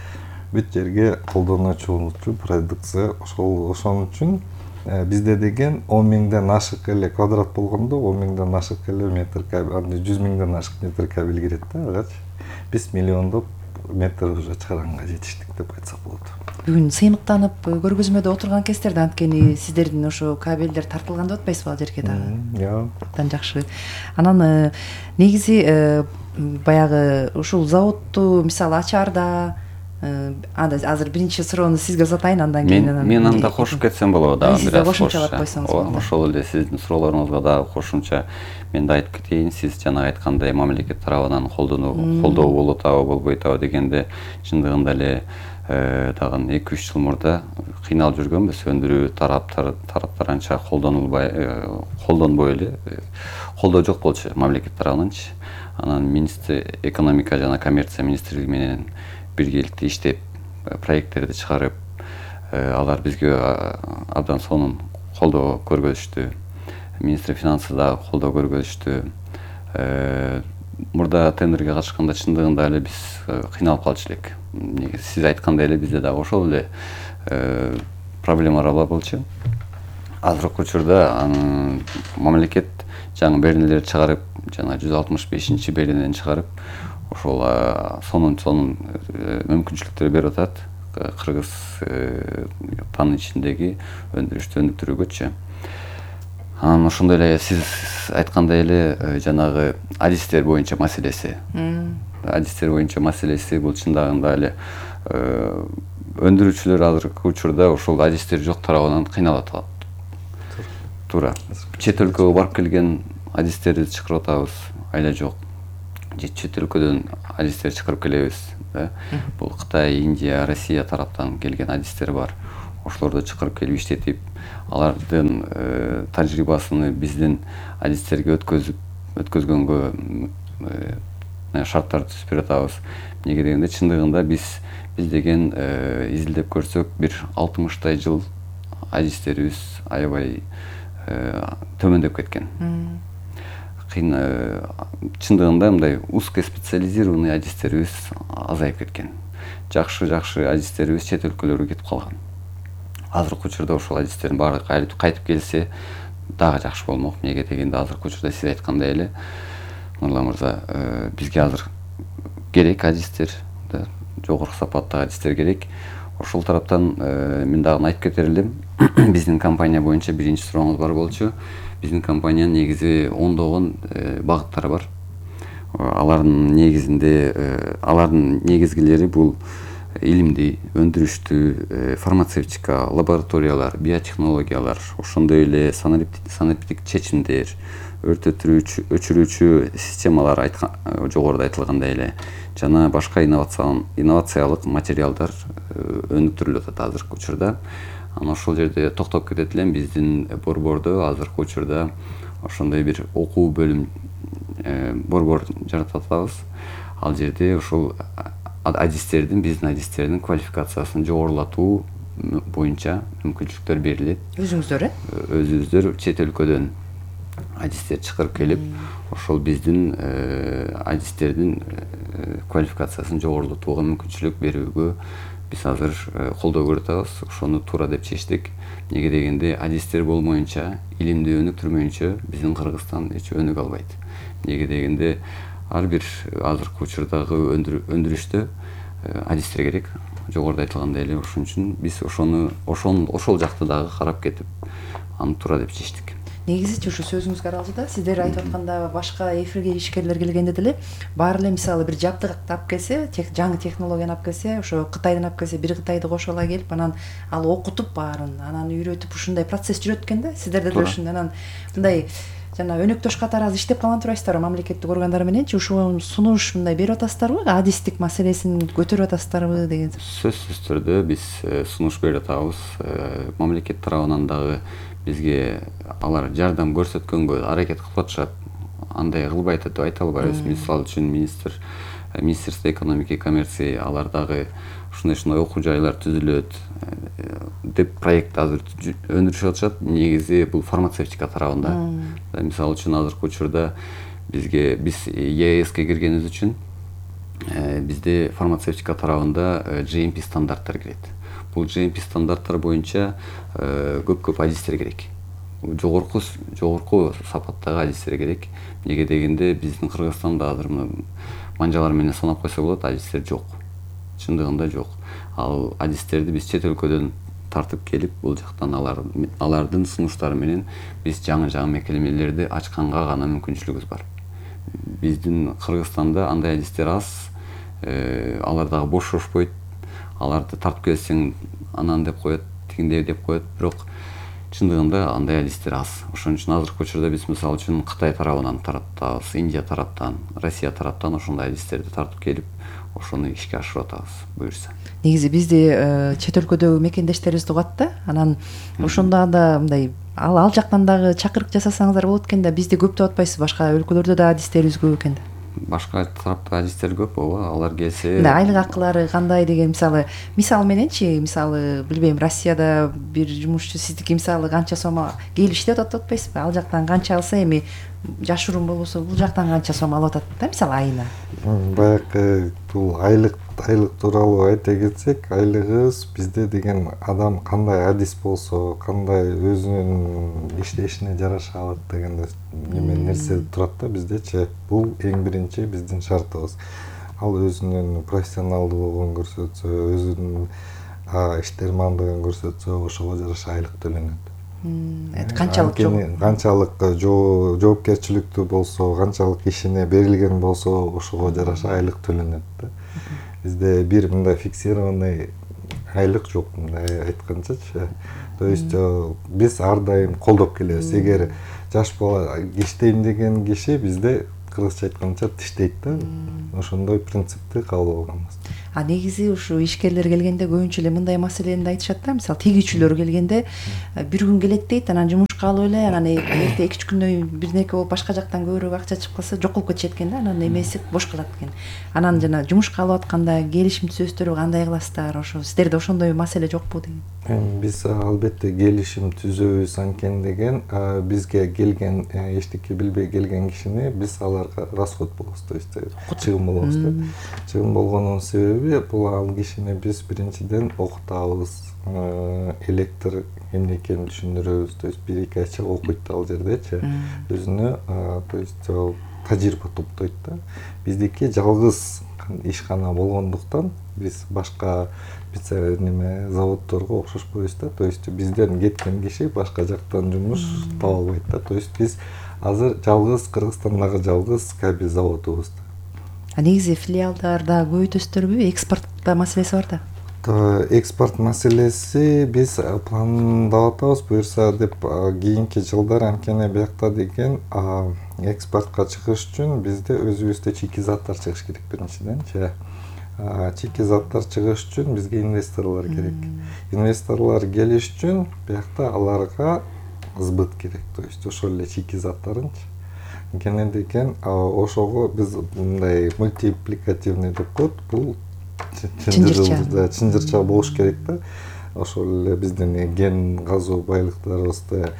бүт жерге колдоночу продукция. Ошон үчүн бизде деген 10 миңден ашык эле квадрат болгондо 10 миңден ашык эле метр кабель, 100 миңден ашык метр кабель кирет да. Агачы биз миллиондоп метр уже чыгарганга жетиштик деп айтсак болот. Бүгүн сыймыктанып көргөзмөдө отурган кездерде анткени сиздердин ошо кабелдер тартылган деп атпайсызбы ал жерге дагы? Абдан жакшы. Анан негизи баягы ушул заводду мисалы ачаарда азыр биринчи суроону сизге узатайын, андан кийин мен анда кошуп кетсем болобу дагы бир аз кошумчалап койсоңуз болот. Ошол эле сиздин суроолоруңузга дагы кошумча мен да айтып кетейин. Сиз жана айткандай мамлекет тарабынан колдоо болуп атабы, болбойт атабы дегенде чындыгында эле дагы 2-3 жыл мурда кыйналып жүргөнбүз. Өндүрүү тараптар анча колдонбой эле, колдоо жок болчу мамлекет тарабынанчы. Анан экономика жана коммерция министрлиги менен биргеликте иштеп, проекттерди чыгарып, алар бизге абдан сонун колдоо көргөзүштү. Министр финансы да колдоо көргөзүштү. мурда тендерге катышканда чындыгында эле биз кыйналып калчу элек. Сиз айткандай эле бизде дагы ошол эле проблемалар болчу. Азыркы учурда мамлекет жаңы беренелерди чыгарып, жана 165 беренени чыгарып, ошол сонун мүмкүнчүлүктөр берип атат Кыргызстандын ичиндеги өндүрүштү өнүктүрүүгөчү. Анан ошондой эле сиз айткандай эле жанагы адистер боюнча маселеси. Адистер боюнча маселеси бул чындыгында эле өндүрүүчүлөр азыркы учурда ошол адистер жок тарабынан кыйналып атат. Туура. Чет өлкөгө барып келген адистерди чакырып атабыз, айла жок. Чет өлкөдөн адистер чакырып келебиз. Бул Кытай, Индия, Россия тараптан келген адистер бар. Ошолорду чакырып келип иштетип, алардын тажрыйбасын биздин адистерге өткөзгөнгө шарттар түзүп берип атабыз. Эмнеге дегенде чындыгында биз деген изилдеп көрсөк, бир 60 жыл адистерибиз аябай төмөндөп кеткен. Чындыгында мындай узкоспециализированный адистерибиз азайып кеткен. Жакшы адистерибиз чет өлкөлөргө кетип калган. Азыркы учурда ошол адистердин баары кайтып келсе дагы жакшы болмок. Эмнеге дегенде азыркы учурда сиз айткандай эле Нурлан мырза, бизге азыр керек адистер, жогорку сапаттагы адистер керек. Ошол тараптан мен дагы айтып кетер элем. Биздин компания боюнча биринчи сурооңуз бар болчу. Биздин компаниянын негизи ондогон багыттары бар. Алардын негизгилери бул илимдүү, өндүрүштүү, фармацевтика, лабораториялар, биотехнологиялар, ошондой эле санариптик чечимдер, өрт өчүрүүчү системалар жогоруда айтылгандай эле жана башка инновациялык материалдар өнүктүрүлүп атат азыркы учурда. Анан ошол жерде токтоп кетет элем, биздин борбордо азыркы учурда ошондой бир окуу бөлүм борбор жаратып атабыз. Ал жерде ошол биздин адистердин квалификациясын жогорулатуу боюнча мүмкүнчүлүктөр берилет. Өзүңүздөр чет өлкөдөн адистер чакырып келип, ошол биздин адистердин квалификациясын жогорулатууга мүмкүнчүлүк берүүгө биз азыр колдоо көрүп атабыз. Ошону туура деп чечтик. Эмнеге дегенде адистер болмоюнча, илимди өнүктүрмөйүнчө биздин Кыргызстан эч өнүгө албайт. Эмнеге дегенде ар бир азыркы учурдагы өндүрүштө адистер керек. Жогоруда айтылгандай эле ошон үчүн биз ошол жакты дагы карап кетип, аны туура деп чечтик. Негизичи ушу сөзүңүзгө аралды да, сиздер айтып атканда башка эфирге ишкерлер келгенде деле баары эле мисалы бир жабдык алып келсе, жаңы технологияны алып келсе, ошо Кытайдан алып келсе, бир Кытайды кошо ала келип, анан ал окутуп баарын, анан үйрөтүп ушундай процесс жүрөт экен да. Сиздерде да ушундай анан мындай жана өнөктөш катары азыр иштеп калган турасыздарбы мамлекеттик органдар мененчи? Ушул сунуш мындай берип атасыздарбы? Адистик маселесин көтөрүп атасыздарбы деген? Сөзсүз түрдө биз сунуш берип атабыз. Мамлекет тарабынан дагы бизге алар жардам көрсөткөнгө аракет кылып атышат. Андай кылбайт деп айта албайбыз. Мисалы үчүн Министерство экономики и коммерции алар дагы ушундай окуу жайлар түзүлөт деп проект азыр өндүрүшүп атышат. Негизи бул фармацевтика тарабында. Мисалы үчүн азыркы учурда биз ЕСке киргенибиз үчүн бизде фармацевтика тарабында GMP стандарттар кирет. Бул GMP стандарттар боюнча көп адистер керек. Жогорку сапаттагы адистер керек. Эмнеге дегенде биздин Кыргызстанда азыр манжалар менен санап койсо болот, адистер жок. Чындыгында жок. Ал адистерди биз чет өлкөдөн тартып келип, бул жактан алардын сунуштары менен биз жаңы мекемелерди ачканга гана мүмкүнчүлүгүбүз бар. Биздин Кыргызстанда андай адистер аз, алар дагы бошошпойт. Аларды тартып келсең анан деп коет, тигиндей деп коет, бирок чындыгында андай адистер аз. Ошон үчүн азыркы учурда биз мисалы үчүн Кытай тарабынан тартабыз, Индия тараптан, Россия тараптан ошондой адистерди тартып келип, ошону ишке ашырып атабыз, буюрса. Негизи бизди чет өлкөдөгү мекендештерибиз угат да, анан ошондо да мындай ал жактан дагы чакырык жасасаңыздар болот экен да, бизди көп деп атпайсыз, башка өлкөлөрдө да адистерибиз көп экен да. башка тараптагы адистер көп, ооба, алар келсе. Айлык акылары кандай деген мисал мененчи, мисалы билбейм, Россияда бир жумушчу сиздики мисалы канча сом келип иштеп атат деп атпайсызбы? Ал жактан канча алса, эми жашыруун болбосо бул жактан канча сом алып атат да, мисалы айына. Баягы бул айлык тууралуу айта кетсек, айлыгыбыз бизде деген адам кандай адис болсо, кандай өзүнүн иштешине жараша алат деген нерсе турат да биздечи. Бул эң биринчи биздин шартыбыз. Ал өзүнүн профессионалдуулугун көрсөтсө, өзүнүн иштермандыгын көрсөтсө, ошого жараша айлык төлөнөт. Канчалык жоопкерчиликтүү болсо, канчалык ишине берилген болсо, ошого жараша айлык төлөнөт да. Бизде бир мындай фиксированный айлык жок, мындай айтканчачы. То есть биз ар дайым колдоп келебиз. Эгер жаш бала иштейм деген киши бизде кыргызча айтканча иштейт да. Ошондой принципти кабыл алганбыз. Негизи ушу ишкерлер келгенде көбүнчө эле мындай маселени айтышат да, мисалы тегүүчүлөр келгенде бир күн келет дейт, анан жумушка алып эле, анан эрте 2-3 күндөй бирнеке болуп башка жактан көбүрөөк акча чыгып калса жоколуп кетишет экен да, анан эмеси бош калат экен. Анан жана жумушка алып атканда келишим түзөсүздөрбү, кандай кыласыздар? Ошо сиздерде ошондой маселе жокпу деген? Биз албетте келишим түзөбүз, анткени деген бизге келген эчтеке билбей келген кишини биз аларга расход болобуз, то есть чыгым болобуз да. Чыгым болгонунун себеби бул ал кишини биз биринчиден окутабыз, электр эмне экенин түшүндүрөбүз, то есть 1-2 айча окуйт ал жердечи, өзүнө то есть тажрыйба топтойт да. Биздики жалгыз ишкана болгондуктан биз башка заводдорго окшошпойбуз да. То есть бизден кеткен киши башка жактан жумуш таба албайт да. То есть биз азыр жалгыз Кыргызстандагы жалгыз кабель заводубуз да. Негизи филиалдарда көбөйтөсүздөрбү? Экспорт маселеси бар да. Экспорт маселеси биз пландап атабыз, буюрса деп кийинки жылдар, анткени биякта деген экспортко чыгыш үчүн бизде өзүбүздө чийки заттар чыгыш керек биринчиденчи. Чийки заттар чыгыш үчүн бизге инвесторлор керек. Инвесторлор келиш үчүн биякта аларга сбыт керек, то есть ошол эле чийки заттарынчы. Анткени деген ошого биз мындай мультипликативный деп коет, бул чынжырча болуш керек да. Ошол эле биздин ген казуу байлыктарыбызды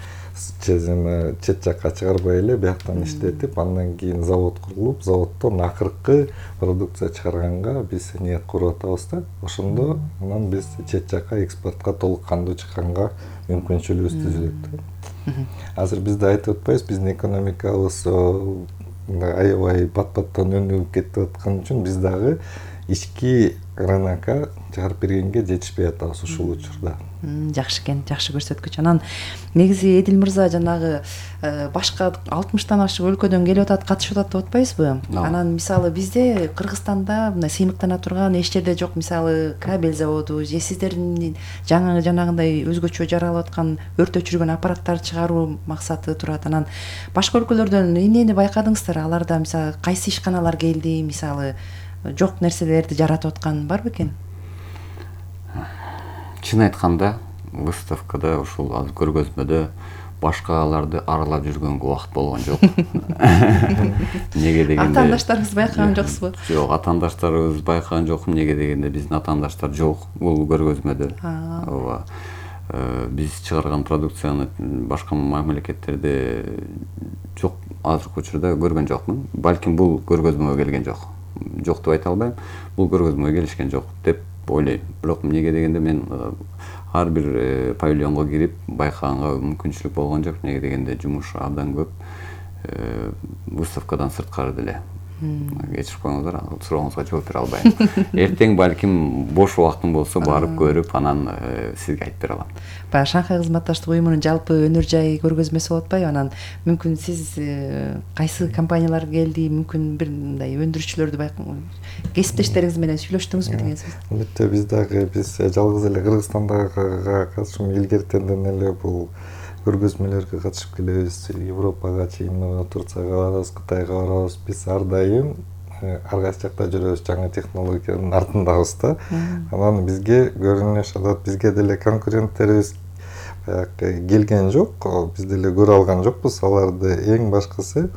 чет жакка чыгарбай эле бияктан иштетип, андан кийин завод курулуп, заводдон акыркы продукция чыгарганга биз ниет куруп атабыз да. Ошондо анан биз чет жакка экспортко толук кандуу чыкканга мүмкүнчүлүгүбүз түзүлөт да. Азыр бизде айтып атпайбыз, биздин экономикабыз аябай бат-баттан өнүгүп кетип аткан үчүн биз дагы ички рынокко чыгарып бергенге жетишпей атабыз ушул учурда. Жакшы экен, жакшы көрсөткүч. Анан негизи Эдил мырза жанагы башка 60тан ашык өлкөдөн келип атат, катышып атат деп атпайсызбы? Анан мисалы бизде Кыргызстанда мына сыймыктана турган эч жерде жок, мисалы кабель заводу же сиздердин жанагындай өзгөчө жаралып аткан өрт өчүргөн аппараттар чыгаруу максаты турат. Анан башка өлкөлөрдөн эмнени байкадыңыздар? Аларда мисалы кайсы ишканалар келди, мисалы жок нерселерди жаратып аткан бар бекен? Чын айтканда, выставкада ушул азыр көргөзмөдө башкаларды аралап жүргөнгө убакыт болгон жок. Неге дегенде атаандаштарыңызды байкаган жоксузбу? Жок, атаандаштарыбызды байкаган жокмун. Неге дегенде биздин атаандаштар жок бул көргөзмөдө. Ооба. Биз чыгарган продукцияны башка мамлекеттерде жок, азыркы учурда көргөн жокмун. Балким бул көргөзмөгө келген жок. Жок деп айта албайм. Бул көргөзмөгө келишкен жок деп ойлойм. Бирок неге дегенде мен ар бир павильонго кирип байкаганга мүмкүнчүлүк болгон жок. Неге дегенде жумуш абдан көп. Выставкадан сырткары деле. Кечирип коюңуздар, сурооңузга жооп бере албайм. Эртең балким бош убактым болсо барып көрүп, анан сизге айтып бере алам. Баягы Шанхай кызматташтык уюмунун жалпы өнөр жай көргөзмөсү болуп атпайбы? Анан мүмкүн сиз кайсы компаниялар келди, мүмкүн бир мындай өндүрүүчүлөрдү кесиптештериңиз менен сүйлөштүңүзбү деген сөз? Албетте биз жалгыз эле Кыргызстандагы катышым илгертенден эле бул көргөзмөлөргө катышып келебиз. Европага чейин Турцияга барабыз, Кытайга барабыз. Биз ар дайым ар кайсы жакта жүрөбүз, жаңы технологиянын артындабыз да. Анан бизге көрүнүш алат, бизге деле конкуренттерибиз келген жок, биз деле көрө алган жокпуз аларды. Эң башкысы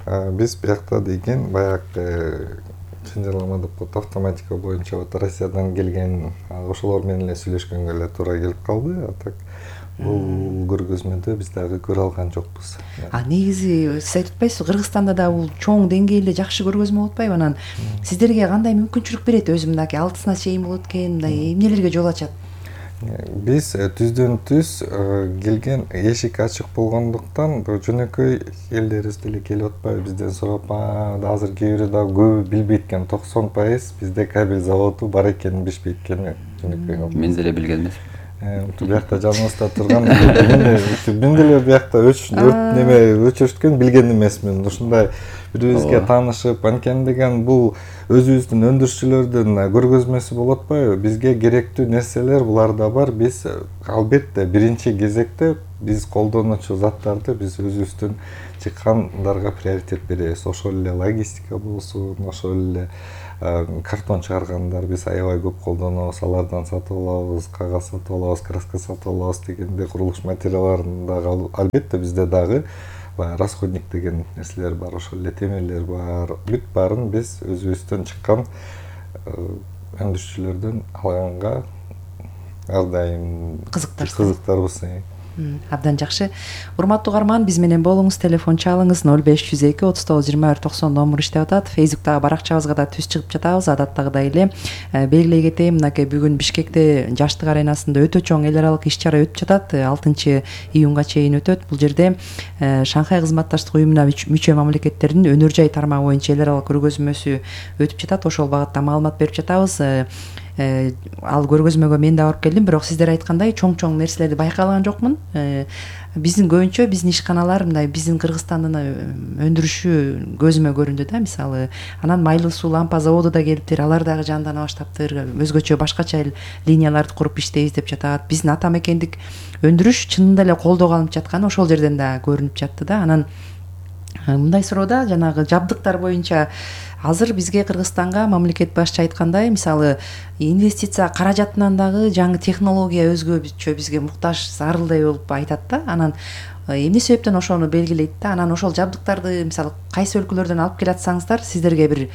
биз биякта деген баягы чынжырлама деп коет, автоматика боюнча вот Россиядан келген ошолор менен эле сүйлөшкөнгө эле туура келип калды. А так бул көргөзмөдө биз дагы көрө алган жокпуз. Негизи сиз айтып атпайсызбы, Кыргызстанда да бул чоң деңгээлде жакшы көргөзмө болуп атпайбы? Анан сиздерге кандай мүмкүнчүлүк берет? Өзү мындай алтысына чейин болот экен, мындай эмнелерге жол ачат? Биз түздөн түз келген эшик ачык болгондуктан жөнөкөй элдерибиз деле келип атпайбы бизден сурап, азыр кээ бирөө дагы көбү билбейт экен. 90% бизде кабель заводу бар экенин билишпейт экен. Жөнөкөй мен деле билген эмесмин. Биякта жаныбызда турган мен деле биякта өчүрткөн билген эмесмин. Ушундай бири-бирибизге таанышып, анткени деген бул өзүбүздүн өндүрүшчүлөрдүн көргөзмөсү болот атпайбы? Бизге керектүү нерселер буларда бар. Биз албетте биринчи кезекте биз колдонуучу заттарды биз өзүбүздүн чыккандарга приоритет беребиз. Ошол эле логистика болсун, ошол эле картон чыгаргандар биз аябай көп колдонобуз. Алардан сатып алабыз, кагаз сатып алабыз, краска сатып алабыз дегенде курулуш материалдарын дагы албетте бизде дагы расходник деген нерселер бар, ошол эле темирлер бар. Бүт баарын биз өзүбүздөн чыккан өндүрүшчүлөрдөн алганга ар дайым кызыктарбыз. Абдан жакшы. Урматтуу угарман, биз менен болуңуз, телефон чалыңыз 0502 39 21 90 номер иштеп атат. Фейсбуктагы баракчабызга да түз чыгып жатабыз. Адаттагыдай эле белгилей кетейин, мынакей бүгүн Бишкекте Жаштык аренасында өтө чоң эл аралык иш-чара өтүп жатат. 6-июнга чейин өтөт. Бул жерде Шанхай кызматташтык уюмуна мүчө мамлекеттердин өнөр жай тармагы боюнча эл аралык көргөзмөсү өтүп жатат. Ошол багытта маалымат берип жатабыз. Ал көргөзмөгө мен да барып келдим, бирок сиздер айткандай чоң нерселерди байкаган жокмун. Биздин көбүнчө биздин ишканалар мындай биздин Кыргызстандын өндүрүшү көзүмө көрүндү да. Мисалы, анан майлуу суу лампа заводу да келиптир, алар дагы жандана баштаптыр. Өзгөчө башкача линияларды куруп иштейбиз деп жатат. Биздин ата мекендик өндүрүш чынында эле колдоого алынып жатканы ошол жерден да көрүнүп жатты да. Анан мындай суроода жанагы жабдыктар боюнча азыр бизге Кыргызстанга мамлекет башчы айткандай, мисалы, инвестиция каражатынан дагы жаңы технология өзгөчө бизге муктаж, зарылдай болуп айтат да. Анан эмне себептен ошону белгилейт да. Анан ошол жабдыктарды мисалы кайсы өлкөлөрдөн алып келатсаңыздар, сиздерге бир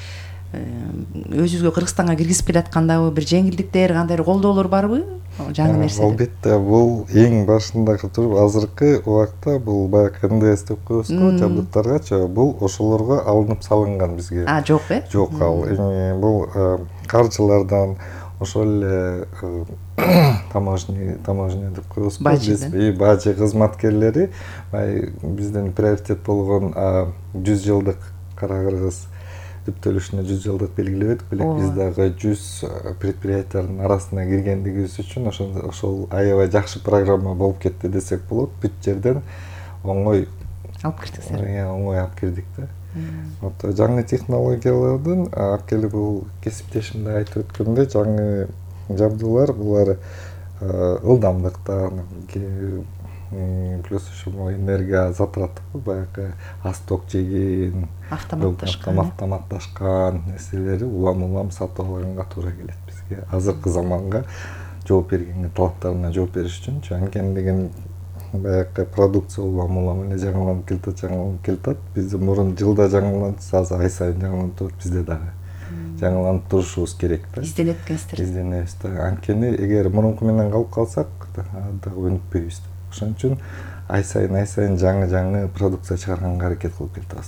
өзүбүзгө Кыргызстанга киргизип келаткандагы бир жеңилдиктер, кандайдыр колдоолор барбы? Жаңы нерсе. Албетте, бул эң башындагы туруп азыркы убакта бул баягы НДС деп коебуз го жабдыктаргачы, бул ошолорго алынып салынган бизге. Жок Жок, ал бул каржылардан, ошол эле таможня деп коебуз го, биз бажы кызматкерлери биздин приоритет болгон 100 жылдык Кара Кыргыз түптөлүшүнө 100 жылдык белгилеп элек, биз дагы 100 предприятиянын арасына киргендигибиз үчүн ошол аябай жакшы программа болуп кетти десек болот. Бүт жерден оңой алып кирдиңиздер. Оңой алып кирдик да. Вот жаңы технологиялардын акели бул кесиптешим да айтып өткөндөй, жаңы жабдуулар булар ылдамдыктан плюс еще энергия затраты баягы асток жеген автоматташкан нерселери улам сатып алганга туура келет бизге. Азыркы заманга жооп бергенге, талаптарына жооп бериш үчүнчү. Анткени деген баягы продукция улам эле жаңыланып келатат. Биз мурун жылда жаңыланып, азыр ай сайын жаңыланып турат. Бизде дагы жаңыланып турушубуз керек да. Изденетсиздер. Изденебиз да. Анткени эгер мурунку менен калып калсак, дагы өнүкпөйбүз. Ошон үчүн ай сайын жаңы продукция чыгарганга аракет кылып келатабыз.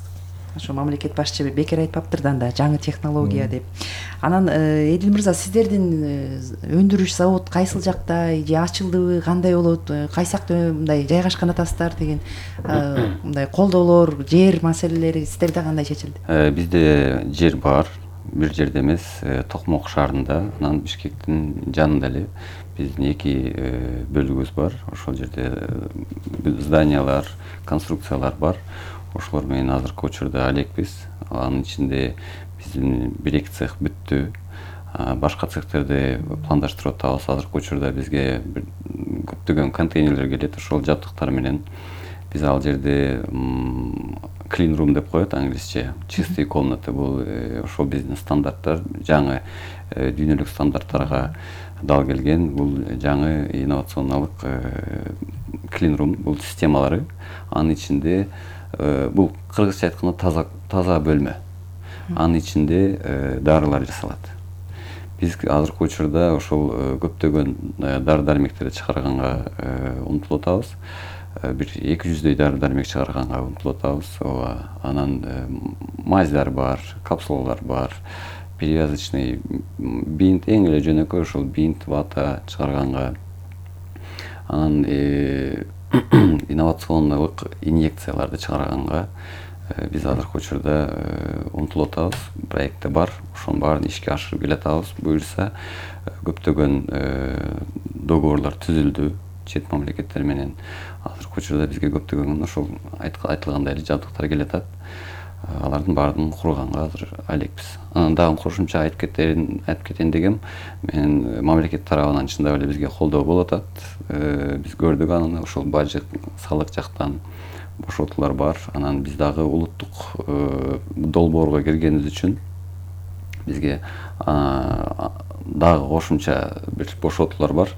Ошо мамлекет башчы бекер айтпаптыр да жаңы технология деп. Анан Эдил мырза, сиздердин өндүрүш завод кайсыл жакта, же ачылдыбы, кандай болот, кайсакта мындай жайгашкан атасыздар деген мындай колдоолор, жер маселелери сиздерде кандай чечилди? Бизде жер бар, бир жерде эмес, Токмок шаарында, анан Бишкектин жанында эле биздин 2 бөлүгүбүз бар. Ошол жерде зданиялар, конструкциялар бар. Ошолор менен азыркы учурда алекпиз. Анын ичинде биздин 1-2 цех бүттү. Башка цехтерди пландаштырып атабыз. Азыркы учурда бизге көптөгөн контейнерлер келет. Ошол жабдыктар менен биз ал жерде clean room деп коет англисче, чистые комнаты. Бул ошол биздин стандарттар, жаңы дүйнөлүк стандарттарга дал келген. Бул жаңы инновационалык clean room, бул системалары. Анын ичинде бул кыргызча айтканда таза бөлмө. Анын ичинде дарылар жасалат. Биз азыркы учурда ошол көптөгөн дары дармектерди чыгарганга умтулуп атабыз. Бир 200дөй дары дармек чыгарганга умтулуп атабыз. Анан мазьдар бар, капсулалар бар, перевязочный бинт, эң эле жөнөкөй ошол бинт, вата чыгарганга. Анан инновациондук инъекцияларды чыгарганга биз азыркы учурда умтулуп атабыз. Проекти бар, ошонун баарын ишке ашырып келатабыз. Буюрса көптөгөн договорлор түзүлдү чет мамлекеттер менен. Азыркы учурда бизге көптөгөн ошол айтылгандай эле жабдыктар келатат. Алардын баарын курганга азыр алекпиз. Анан дагы кошумча айтып кетейин дегем, мен мамлекет тарабынан чындап эле бизге колдоо болуп атат. Биз көрдүк аны, ошол бажык, салык жактан бошотуулар бар. Анан биз дагы улуттук долбоорго киргенибиз үчүн бизге дагы кошумча бир бошотуулар бар.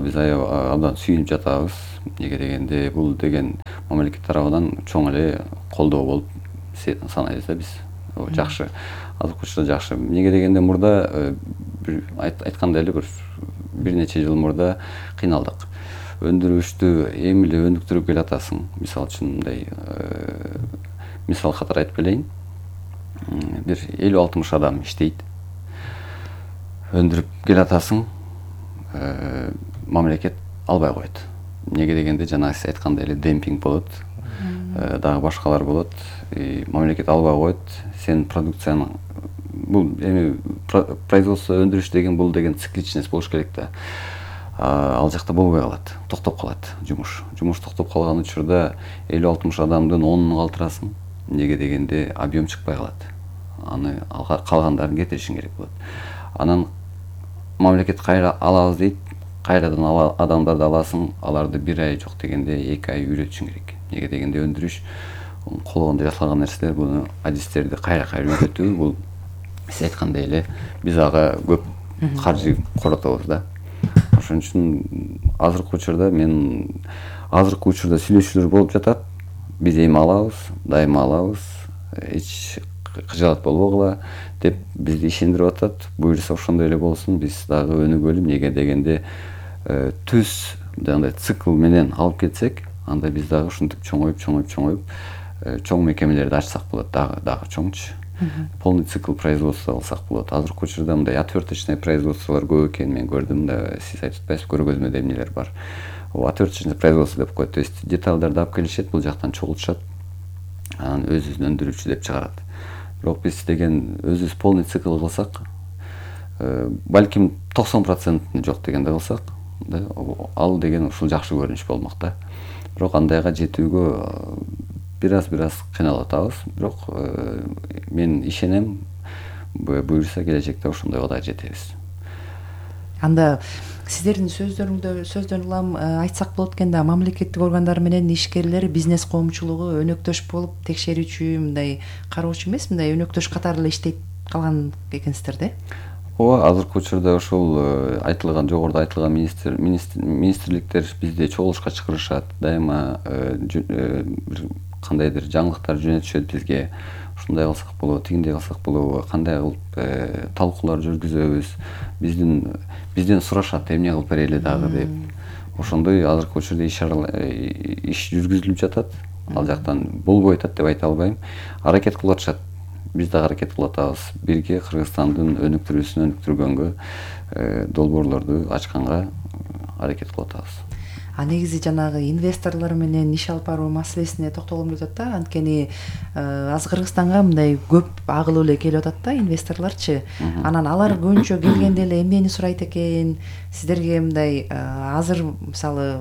Биз абдан сүйүнүп жатабыз. Неге дегенде бул деген мамлекет тарабынан чоң эле колдоо болуп санайбыз да биз. Жакшы. Азыркы учурда жакшы. Неге дегенде мурда айткандай эле бир нече жыл мурда кыйналдык. Өндүрүштү эми эле өнүктүрүп келатасың. Мисалы үчүн мындай мисал катары айтып келейин. Бир 50-60 адам иштейт. Өндүрүп келатасың. Мамлекет албай коет. Неге дегенде жана сиз айткандай эле демпинг болот. Дагы башкалар болот. Мамлекет албай коет. Сен продукцияны бул эми производство өндүрүш деген бул деген цикличность болуш керек да. Ал жакта болбой калат, токтоп калат жумуш. Жумуш токтоп калган учурда 50-60 адамдын 10-ун калтырасың. Неге дегенде объем чыкпай калат. Аны калгандарын кетиришиң керек болот. Анан мамлекет кайра алабыз дейт, кайрадан адамдарды аласың, аларды 1 ай жок дегенде 2 ай үйрөтүшүң керек. Неге дегенде өндүрүш колдондо жасалган нерселер, буну адистерди кайра үйрөтүү, бул сиз айткандай эле биз ага көп каржы коротобуз да. Ошон үчүн азыркы учурда сүйлөшүүлөр болуп жатат. Биз эми алабыз, дайыма алабыз, эч кыжаат болбогула деп бизди ишендирип атат. Буюрса ошондой эле болсун, биз дагы өнүгөлү. Неге дегенде түз жандай цикл менен алып кетсек, анда биз дагы ушинтип чоңоюп чоң мекемелерди ачсак болот, дагы чоңчу. Полный цикл производства алсак болот. Азыркы учурда мындай отверточный производстволор көп экенин мен көрдүм да, сиз айтып атпайсызбы, көргөзмөдө эмнелер бар. Отверточный производство деп коет. То есть деталдарды алып келишет, бул жактан чогултушат. Анан өзүбүздүн өндүрүүчү деп чыгарат. Бирок биз деген өзүбүз полный цикл кылсак, балким 90% жок дегенде кылсак, ал деген ушул жакшы көрүнүш болмок да. Бирок андайга жетүүгө бир аз кыйналып атабыз. Бирок мен ишенем, буюрса келечекте ошондойго да жетебиз. Анда сиздердин сөздөрүңдөн улам айтсак болот экен да, мамлекеттик органдар менен ишкерлер, бизнес коомчулугу өнөктөш болуп текшерүүчү, мындай кароочу эмес, мындай өнөктөш катары эле иштейт калган экенсиздер да? Ооба, азыркы учурда ошол айтылган, жогоруда айтылган министрликтер бизди чогулушка чакырышат, дайыма бир кандайдыр жаңылыктар жөнөтүшөт бизге. Ушундай кылсак болобу, тигиндей кылсак болобу, кандай кылып талкуулар жүргүзөбүз, бизден сурашат, эмне кылып берели дагы деп. Ошондой азыркы учурда иш жүргүзүлүп жатат. Ал жактан болбой атат деп айта албайм. Аракет кылып атышат. Биз дагы аракет кылып атабыз. Бирге Кыргызстандын өнүктүрүүсүн өнүктүргөнгө, долбоорлорду ачканга аракет кылып атабыз. Негизи жанагы инвесторлор менен иш алып баруу маселесине токтолгум келип атат да. Анткени азыр Кыргызстанга мындай көп агылып эле келип атат да инвесторлорчу. Анан алар көбүнчө келгенде эле эмнени сурайт экен? Сиздерге мындай азыр мисалы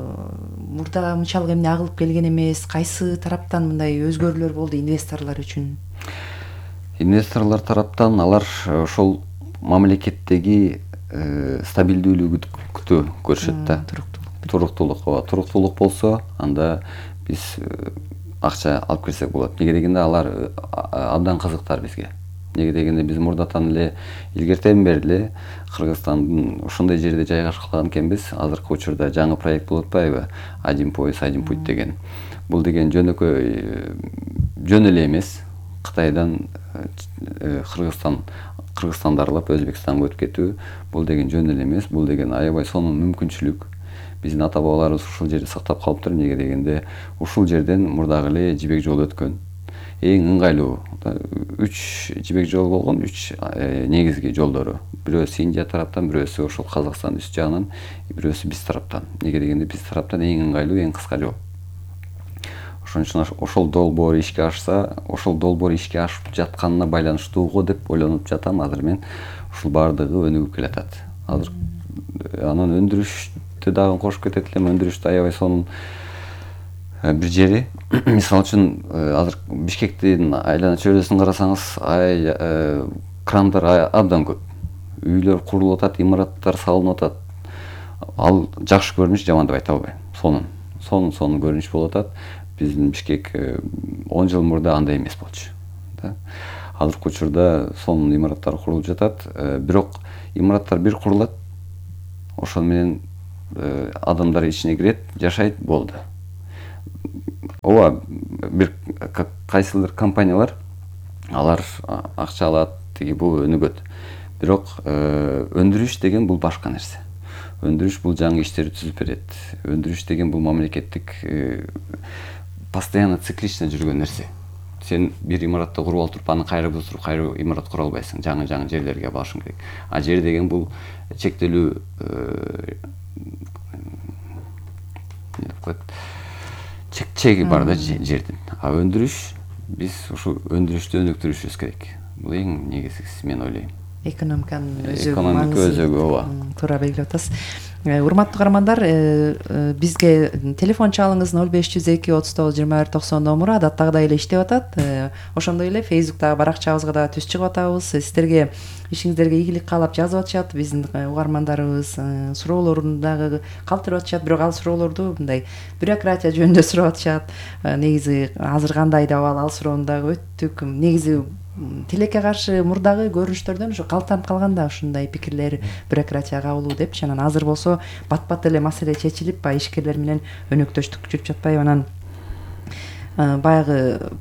мурда мынчалык эмне агылып келген эмес, кайсы тараптан мындай өзгөрүүлөр болду инвесторлор үчүн? Инвесторлор тараптан алар ошол мамлекеттеги стабилдүүлүктү көрүшөт да. Туруктуулук болсо, анда биз акча алып келсек болот. Неге дегенде алар абдан кызыктар бизге. Неге дегенде биз мурдатан эле илгертен бери эле Кыргызстандын ошондой жерде жайгашып калган экенбиз. Азыркы учурда жаңы проект болуп атпайбы? Один пояс, один путь деген. бул деген жөнөкөй жөн эле эмес. Кытайдан Кыргызстанды аралап Өзбекстанга өтүп кетүү бул деген жөн эле эмес. Бул деген аябай сонун мүмкүнчүлүк. Биздин ата бабаларыбыз ушул жерди сактап калыптыр. Эмнеге дегенде ушул жерден мурдагы эле жибек жол өткөн. Эң ыңгайлуу 3 жибек жол болгон, 3 негизги жолдору. Бирөөсү Индия тараптан, бирөөсү ошол Казакстан үст жагынан, бирөөсү биз тараптан. Эмнеге дегенде биз тараптан эң ыңгайлуу, эң кыска жол. Ошон үчүн ошол долбоор ишке ашса, ошол долбоор ишке ашып жатканына байланыштууго деп ойлонуп жатам. Азыр мен ушул баардыгы өнүгүп келатат. Азыр анан өндүрүштү дагы кошуп кетет элем. Өндүрүштү аябай сонун бир жери. Мисалы үчүн азыр Бишкектин айлана чөйрөсүн карасаңыз, крандар абдан көп. Үйлөр курулуп атат, имараттар салынып атат. Ал жакшы көрүнүш, жаман деп айта албайм. Сонун көрүнүш болуп атат. Биздин Бишкек 10 жыл мурда андай эмес болчу. Азыркы учурда сонун имараттар курулуп жатат. Бирок имараттар бир курулат, ошон менен адамдар ичине кирет, жашайт, болду. Ооба, бир кайсылыр компаниялар алар акча алат, тиги бул өнүгөт. Бирок өндүрүш деген бул башка нерсе. Өндүрүш бул жаңы иштерди түзүп берет. Өндүрүш деген бул мамлекеттик постоянно циклично жүргөн нерсе. Сен бир имаратты куруп алып туруп, аны кайра бузуп, кайра имарат кура албайсың. Жаңы жерлерге барышың керек. А жер деген бул чектелүү чеги бар да жердин. А өндүрүш, биз ушу өндүрүштү өнүктүрүшүбүз керек. Бул эң негизгиси, мен ойлойм. Экономиканын Экономика өзөгү, ооба. Туура белгилеп атасыз. Урматтуу каармандар, бизге телефон чалыңыз 0502 39 21 90 номуру адаттагыдай эле иштеп атат. Ошондой эле Facebooktагы баракчабызга да түз чыгып атабыз. Сиздерге ишиңиздерге ийгилик каалап жазып атышат. Биздин угармандарыбыз суроолорун дагы калтырып атышат, бирок ал суроолорду мындай бюрократия жөнүндө сурап атышат. Негизи азыр кандай деп ал суроону дагы өттүк. Негизи тилекке каршы мурдагы көрүнүштөрдөн ушу калтанып калганда ушундай пикирлер бюрократия кабылуу депчи. Анан азыр болсо бат-бат эле маселе чечилип, ишкерлер менен өнөктөштүк жүрүп жатпайбы. Анан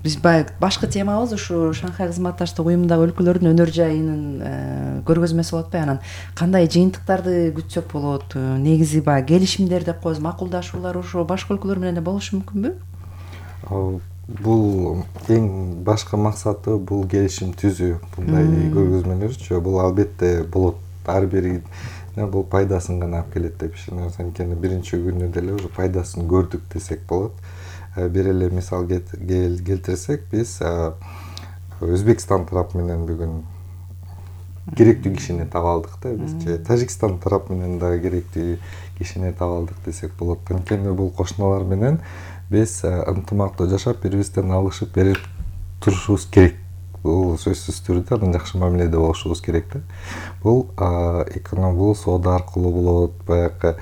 биз башкы темабыз ушу Шанхай кызматташтык уюмундагы өлкөлөрдүн өнөр жайынын көргөзмөсү болуп атпайбы. Анан кандай жыйынтыктарды күтсөк болот? Негизи баягы келишимдер деп коебуз, макулдашуулар ошо башка өлкөлөр менен да болушу мүмкүнбү? Бул эң башкы максаты бул келишим түзүү. Мындай көргөзмөлөрчү бул албетте болот. Ар бири бул пайдасын гана алып келет деп ишенем. Анткени биринчи күнү деле уже пайдасын көрдүк десек болот. Бир эле мисал келтирсек, биз Өзбекстан тарап менен бүгүн керектүү кишини таба алдык да. Биз Тажикстан тарап менен дагы керектүү кишини таба алдык десек болот. Анткени бул кошуналар менен биз ынтымактуу жашап, бири-бирибизден алышып берип турушубуз керек. Бул сөзсүз түрдө анан жакшы мамиледе болушубуз керек да. Бул бул соода аркылуу болот, баягы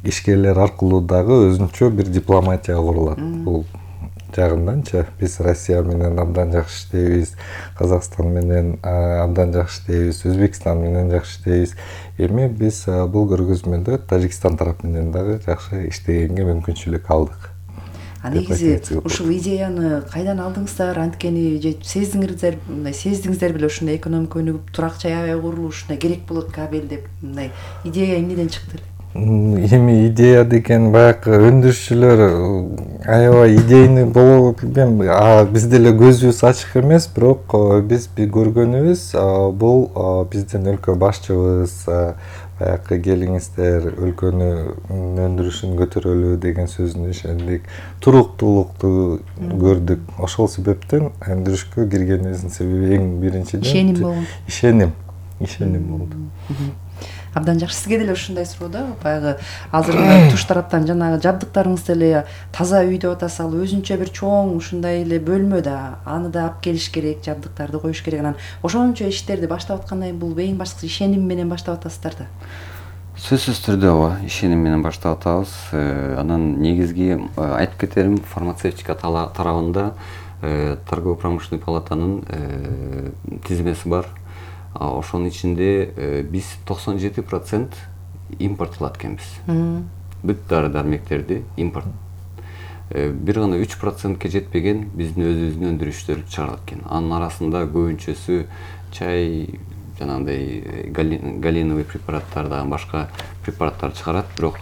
ишкерлер аркылуу дагы өзүнчө бир дипломатия курулат. Бул жагынданчы биз Россия менен абдан жакшы иштейбиз, Казакстан менен абдан жакшы иштейбиз, Өзбекстан менен жакшы иштейбиз. Эми биз бул көргөзмөдө Тажикстан тарап менен дагы жакшы иштегенге мүмкүнчүлүк алдык. Негизи ушул идеяны кайдан алдыңыздар? Анткени сездиңиздер беле ушундай экономика өнүгүп, турак жай аябай курулуп, ушундай керек болот кабел деп, мындай идея эмнеден чыкты? Эми идея деген баягы өндүрүшчүлөр аябай идейный болобу билбейм. Биз деле көзүбүз ачык эмес, бирок биз көргөнүбүз бул биздин өлкө башчыбыз баягы келиңиздер өлкөнүн өндүрүшүн көтөрөлү деген сөзүнө ишендик. Туруктуулукту көрдүк. Ошол себептен өндүрүшкө киргенибиздин себеби эң биринчиден ишеним болду. Абдан жакшы. Сизге деле ушундай суроо баягы азыр туш тараптан жанагы жабдыктарыңыз деле таза үй деп атасыз, ал өзүнчө бир чоң ушундай эле бөлмө да, аны да алып келиш керек, жабдыктарды коюш керек. Анан ошончо иштерди баштап аткандай, бул эң башкысы ишеним менен баштап атасыздар да. Сөзсүз түрдө ооба, ишеним менен баштап атабыз. Анан негизги айтып кетерим, фармацевтика тарабында торгово-промышленный палатанын тизмеси бар. Ошонун ичинде биз 97% импорт кылат экенбиз. Бүт дары-дармектерди импорт. бир гана 3%ке жетпеген биздин өзүбүздүн өндүрүштөр чыгарылат экен. Анын арасында көбүнчөсү чай, жанагындай галиновый препараттар дагы башка препараттар чыгарат, бирок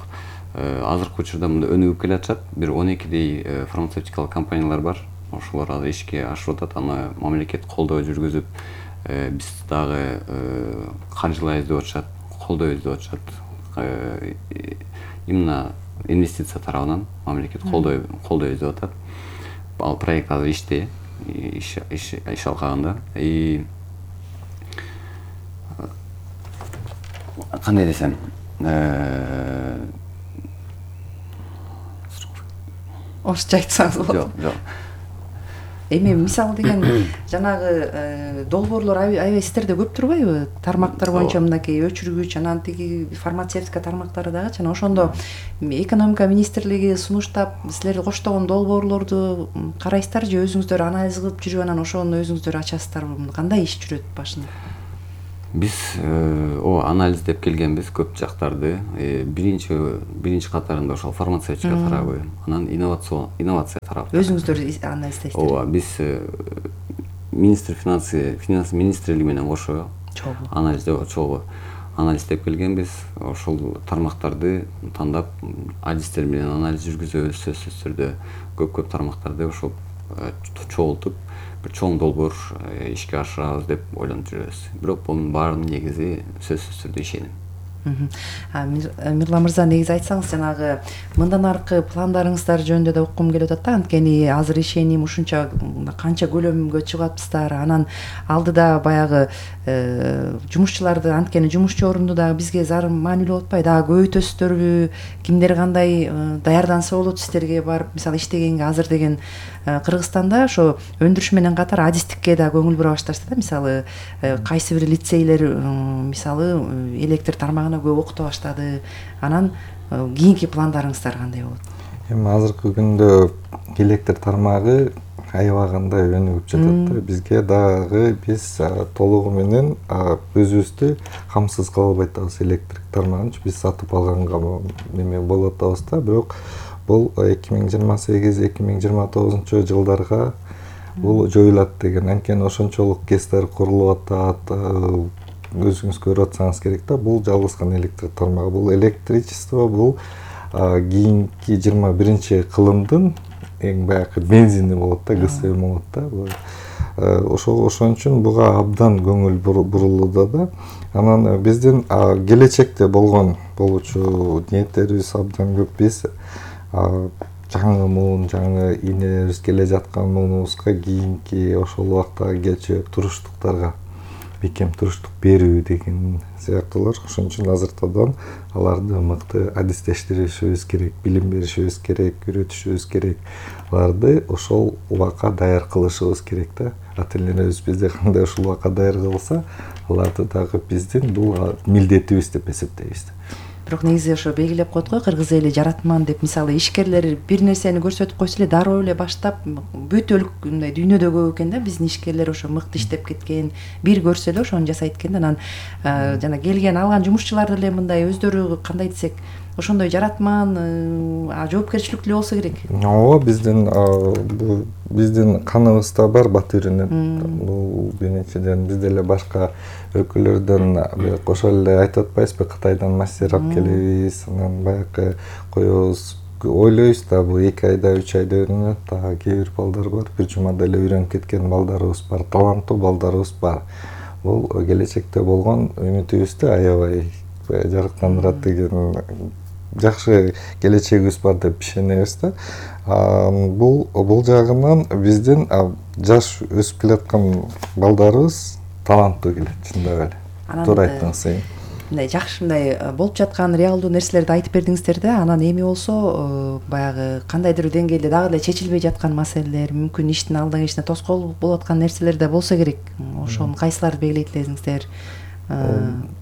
азыркы учурда мында өнүгүп келе атышат. Бир 12 фармацевтикалык компаниялар бар. Ошолор азыр ишке ашырып атат. Аны мамлекет колдоо жүргүзүп, биз дагы каржылайбыз деп атышат, колдойбуз деп атышат. Именно инвестиция тарабынан мамлекет колдойбуз деп атат. Ал проект азыр иште, иш алкагында. Кандай десем, орусча айтсаңыз болот. Жок. Эми мисалы деген жанагы долбоорлор аябай сиздерде көп турбайбы? Тармактар боюнча мынакей өчүргүч, анан тиги фармацевтика тармактары дагы жана ошондо экономика министрлиги сунуштап силерди коштогон долбоорлорду карайсыздар же өзүңүздөр анализ кылып жүрүп анан ошону өзүңүздөр ачасыздарбы? Кандай иш жүрөт башында? Биз анализдеп келгенбиз көп жактарды. Биринчи катарында ошол фармацевтика тарабы, анан инновация тарабы. Өзүңүздөр анализдейсиздер? Ооба, биз финанс министрлиги менен кошо анализдеп келгенбиз. Ошол тармактарды тандап, адистер менен анализ жүргүзөбүз, сөзсүз түрдө көп тармактарды ошол чогултуп бир чоң долбоор ишке ашырабыз деп ойлонуп жүрөбүз. Бирок бунун баарынын негизи сөзсүз түрдө ишеним. Мирлан мырза, негизи айтсаңыз, жанагы мындан аркы пландарыңыздар жөнүндө да уккум келип атат да. Анткени азыр ишеним ушунча канча көлөмгө чыгып атпыздар. Анан алдыда баягы жумушчуларды, анткени жумушчу орунду дагы бизге зарым маанилүү болуп атпайбы? Дагы көбөйтөсүздөрбү? Кимдер кандай даярданса болот сиздерге барып, мисалы иштегенге? Азыр деген Кыргызстанда ошо өндүрүш менен катар адистикке да көңүл бура башташты да. Мисалы кайсы бир лицейлер мисалы электр тармагына көп окута баштады. Анан кийинки пландарыңыздар кандай болот? Эми азыркы күндө электр тармагы аябагандай өнүгүп жатат да. Бизге дагы биз толугу менен өзүбүздү камсыз кыла албай атабыз. Электрик тармагын биз сатып алганга неме болуп атабыз да. Бирок бул 2028-2029 жылдарга бул жоюлат деген. Анткени ошончолук КЭСтер курулуп атат. Өзүңүз көрүп атсаңыз керек да. Бул жалгыз гана электр тармагы. Бул электричество бул кийинки 21 кылымдын эң баягы бензини болот да, ГСМ болот да. Ошон үчүн буга абдан көңүл бурулууда да. Анан биздин келечекте болуучу ниеттерибиз абдан көп. Биз жаңы муун, жаңы ийнелерибиз келе жаткан муунубузга кийинки ошол убактагы келчек туруштуктарга бекем туруштук берүү деген сыяктуулар. Ошон үчүн азыртадан аларды мыкты адистештиришибиз керек, билим беришибиз керек, үйрөтүшүбүз керек. Аларды ошол убакка даяр кылышыбыз керек да. Ата энелерибиз бизди кандай ошол убакка даяр кылса, аларды дагы биздин бул милдетибиз деп эсептейбиз. Бирок негизи ошо белгилеп коет го, кыргыз эли жаратман деп. Мисалы ишкерлер бир нерсени көрсөтүп койсо эле дароо эле баштап бүт мындай дүйнөдө көп экен да. Биздин ишкерлер ошо мыкты иштеп кеткен, бир көрсө эле ошону жасайт экен да. Анан жана келген алган жумушчулар деле мындай өздөрү кандай десек, ошондой жаратман, жоопкерчиликтүү болсо керек. Ооба, биздин каныбызда бар батырынын. Бул биринчиден биз деле башка өлкөлөрдөн кошо эле айтып атпайбызбы, Кытайдан мастер алып келебиз, анан баягы коебуз, ойлойбуз да, бул 2 айда 3 айда үйрөнөт. Кээ бир балдар бар, бир жумада эле үйрөнүп кеткен балдарыбыз бар, таланттуу балдарыбыз бар. Бул келечекте болгон үмүтүбүздү аябай жарыктандырат деген жакшы келечегибиз бар деп ишенебиз да. Бул жагынан биздин жаш өсүп келаткан балдарыбыз таланттуу келет, чындап эле. Туура айттыңыз. Мындай жакшы мындай болуп жаткан реалдуу нерселерди айтып бердиңиздер да. Анан эми болсо баягы кандайдыр деңгээлде дагы эле чечилбей жаткан маселелер, мүмкүн иштин алдыга ишине тоскоол болуп аткан нерселер да болсо керек. Ошонун кайсыларды белгилейт элесиңиздер?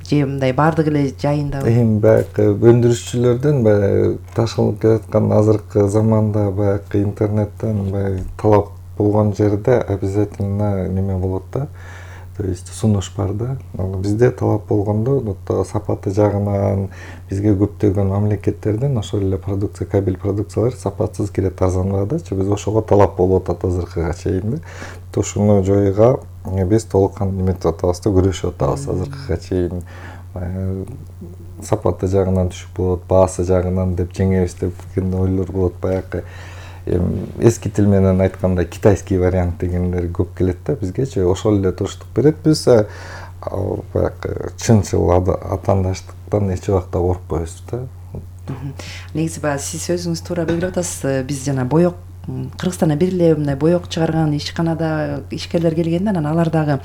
Же мындай баардык эле жайында? Эми баягы өндүрүшчүлөрдөн баягы ташылып келаткан азыркы заманда баягы интернеттен талап болгон жерде обязательно неме болот да. то есть сунуш бар да. Бизде талап болгондо сапаты жагынан бизге көптөгөн мамлекеттерден ошол эле продукция, кабель продукциялар сапатсыз кирет арзан баадачы. Биз ошого талап болуп атат азыркыга чейин да. Ушуну жоюуга биз толук кандуу эметип атабыз да, күрөшүп атабыз азыркыга чейин. Сапаты жагынан түшүп болот, баасы жагынан деп жеңебиз деген ойлор болот. Баягы эски тил менен айтканда китайский вариант дегендер көп келет да бизгечи. Ошол эле туруштук берет. Биз баягы чынчыл атаандаштыктан эч убакта коркпойбуз да. Негизи баягы сиз өзүңүз туура белгилеп атасыз. Биз жана боек Кыргызстанда бир эле мындай боек чыгарган ишканада ишкерлер келгенде, анан алар дагы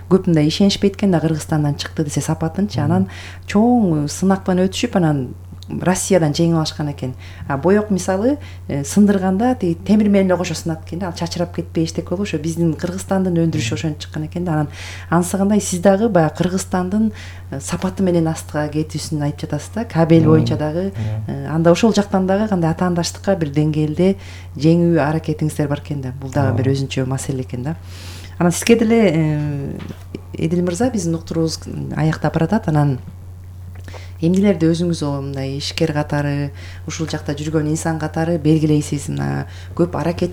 көп мындай ишенишпейт экен да, Кыргызстандан чыкты десе сапатынчы. Анан чоң сынактан өтүшүп, анан Россиядан жеңип алышкан экен. Боек мисалы сындырганда тиги темир менен эле кошо сынат экен да, ал чачырап кетпей эчтеке болуп, ошо биздин Кыргызстандын өндүрүшү ошентип чыккан экен да. Анан ансыгандай сиз дагы баягы Кыргызстандын сапаты менен астыга кетүүсүн айтып жатасыз да. Кабель боюнча дагы анда ошол жактан дагы кандай атаандаштыкка бир деңгээлде жеңүү аракетиңиздер бар экен да. Бул дагы бир өзүнчө маселе экен да. Анан сизге деле Эдил мырза, биздин уктуруубуз аяктап баратат. Анан эмнелерди өзүңүз мындай ишкер катары, ушул жакта жүргөн инсан катары белгилейсиз? Мына көп аракет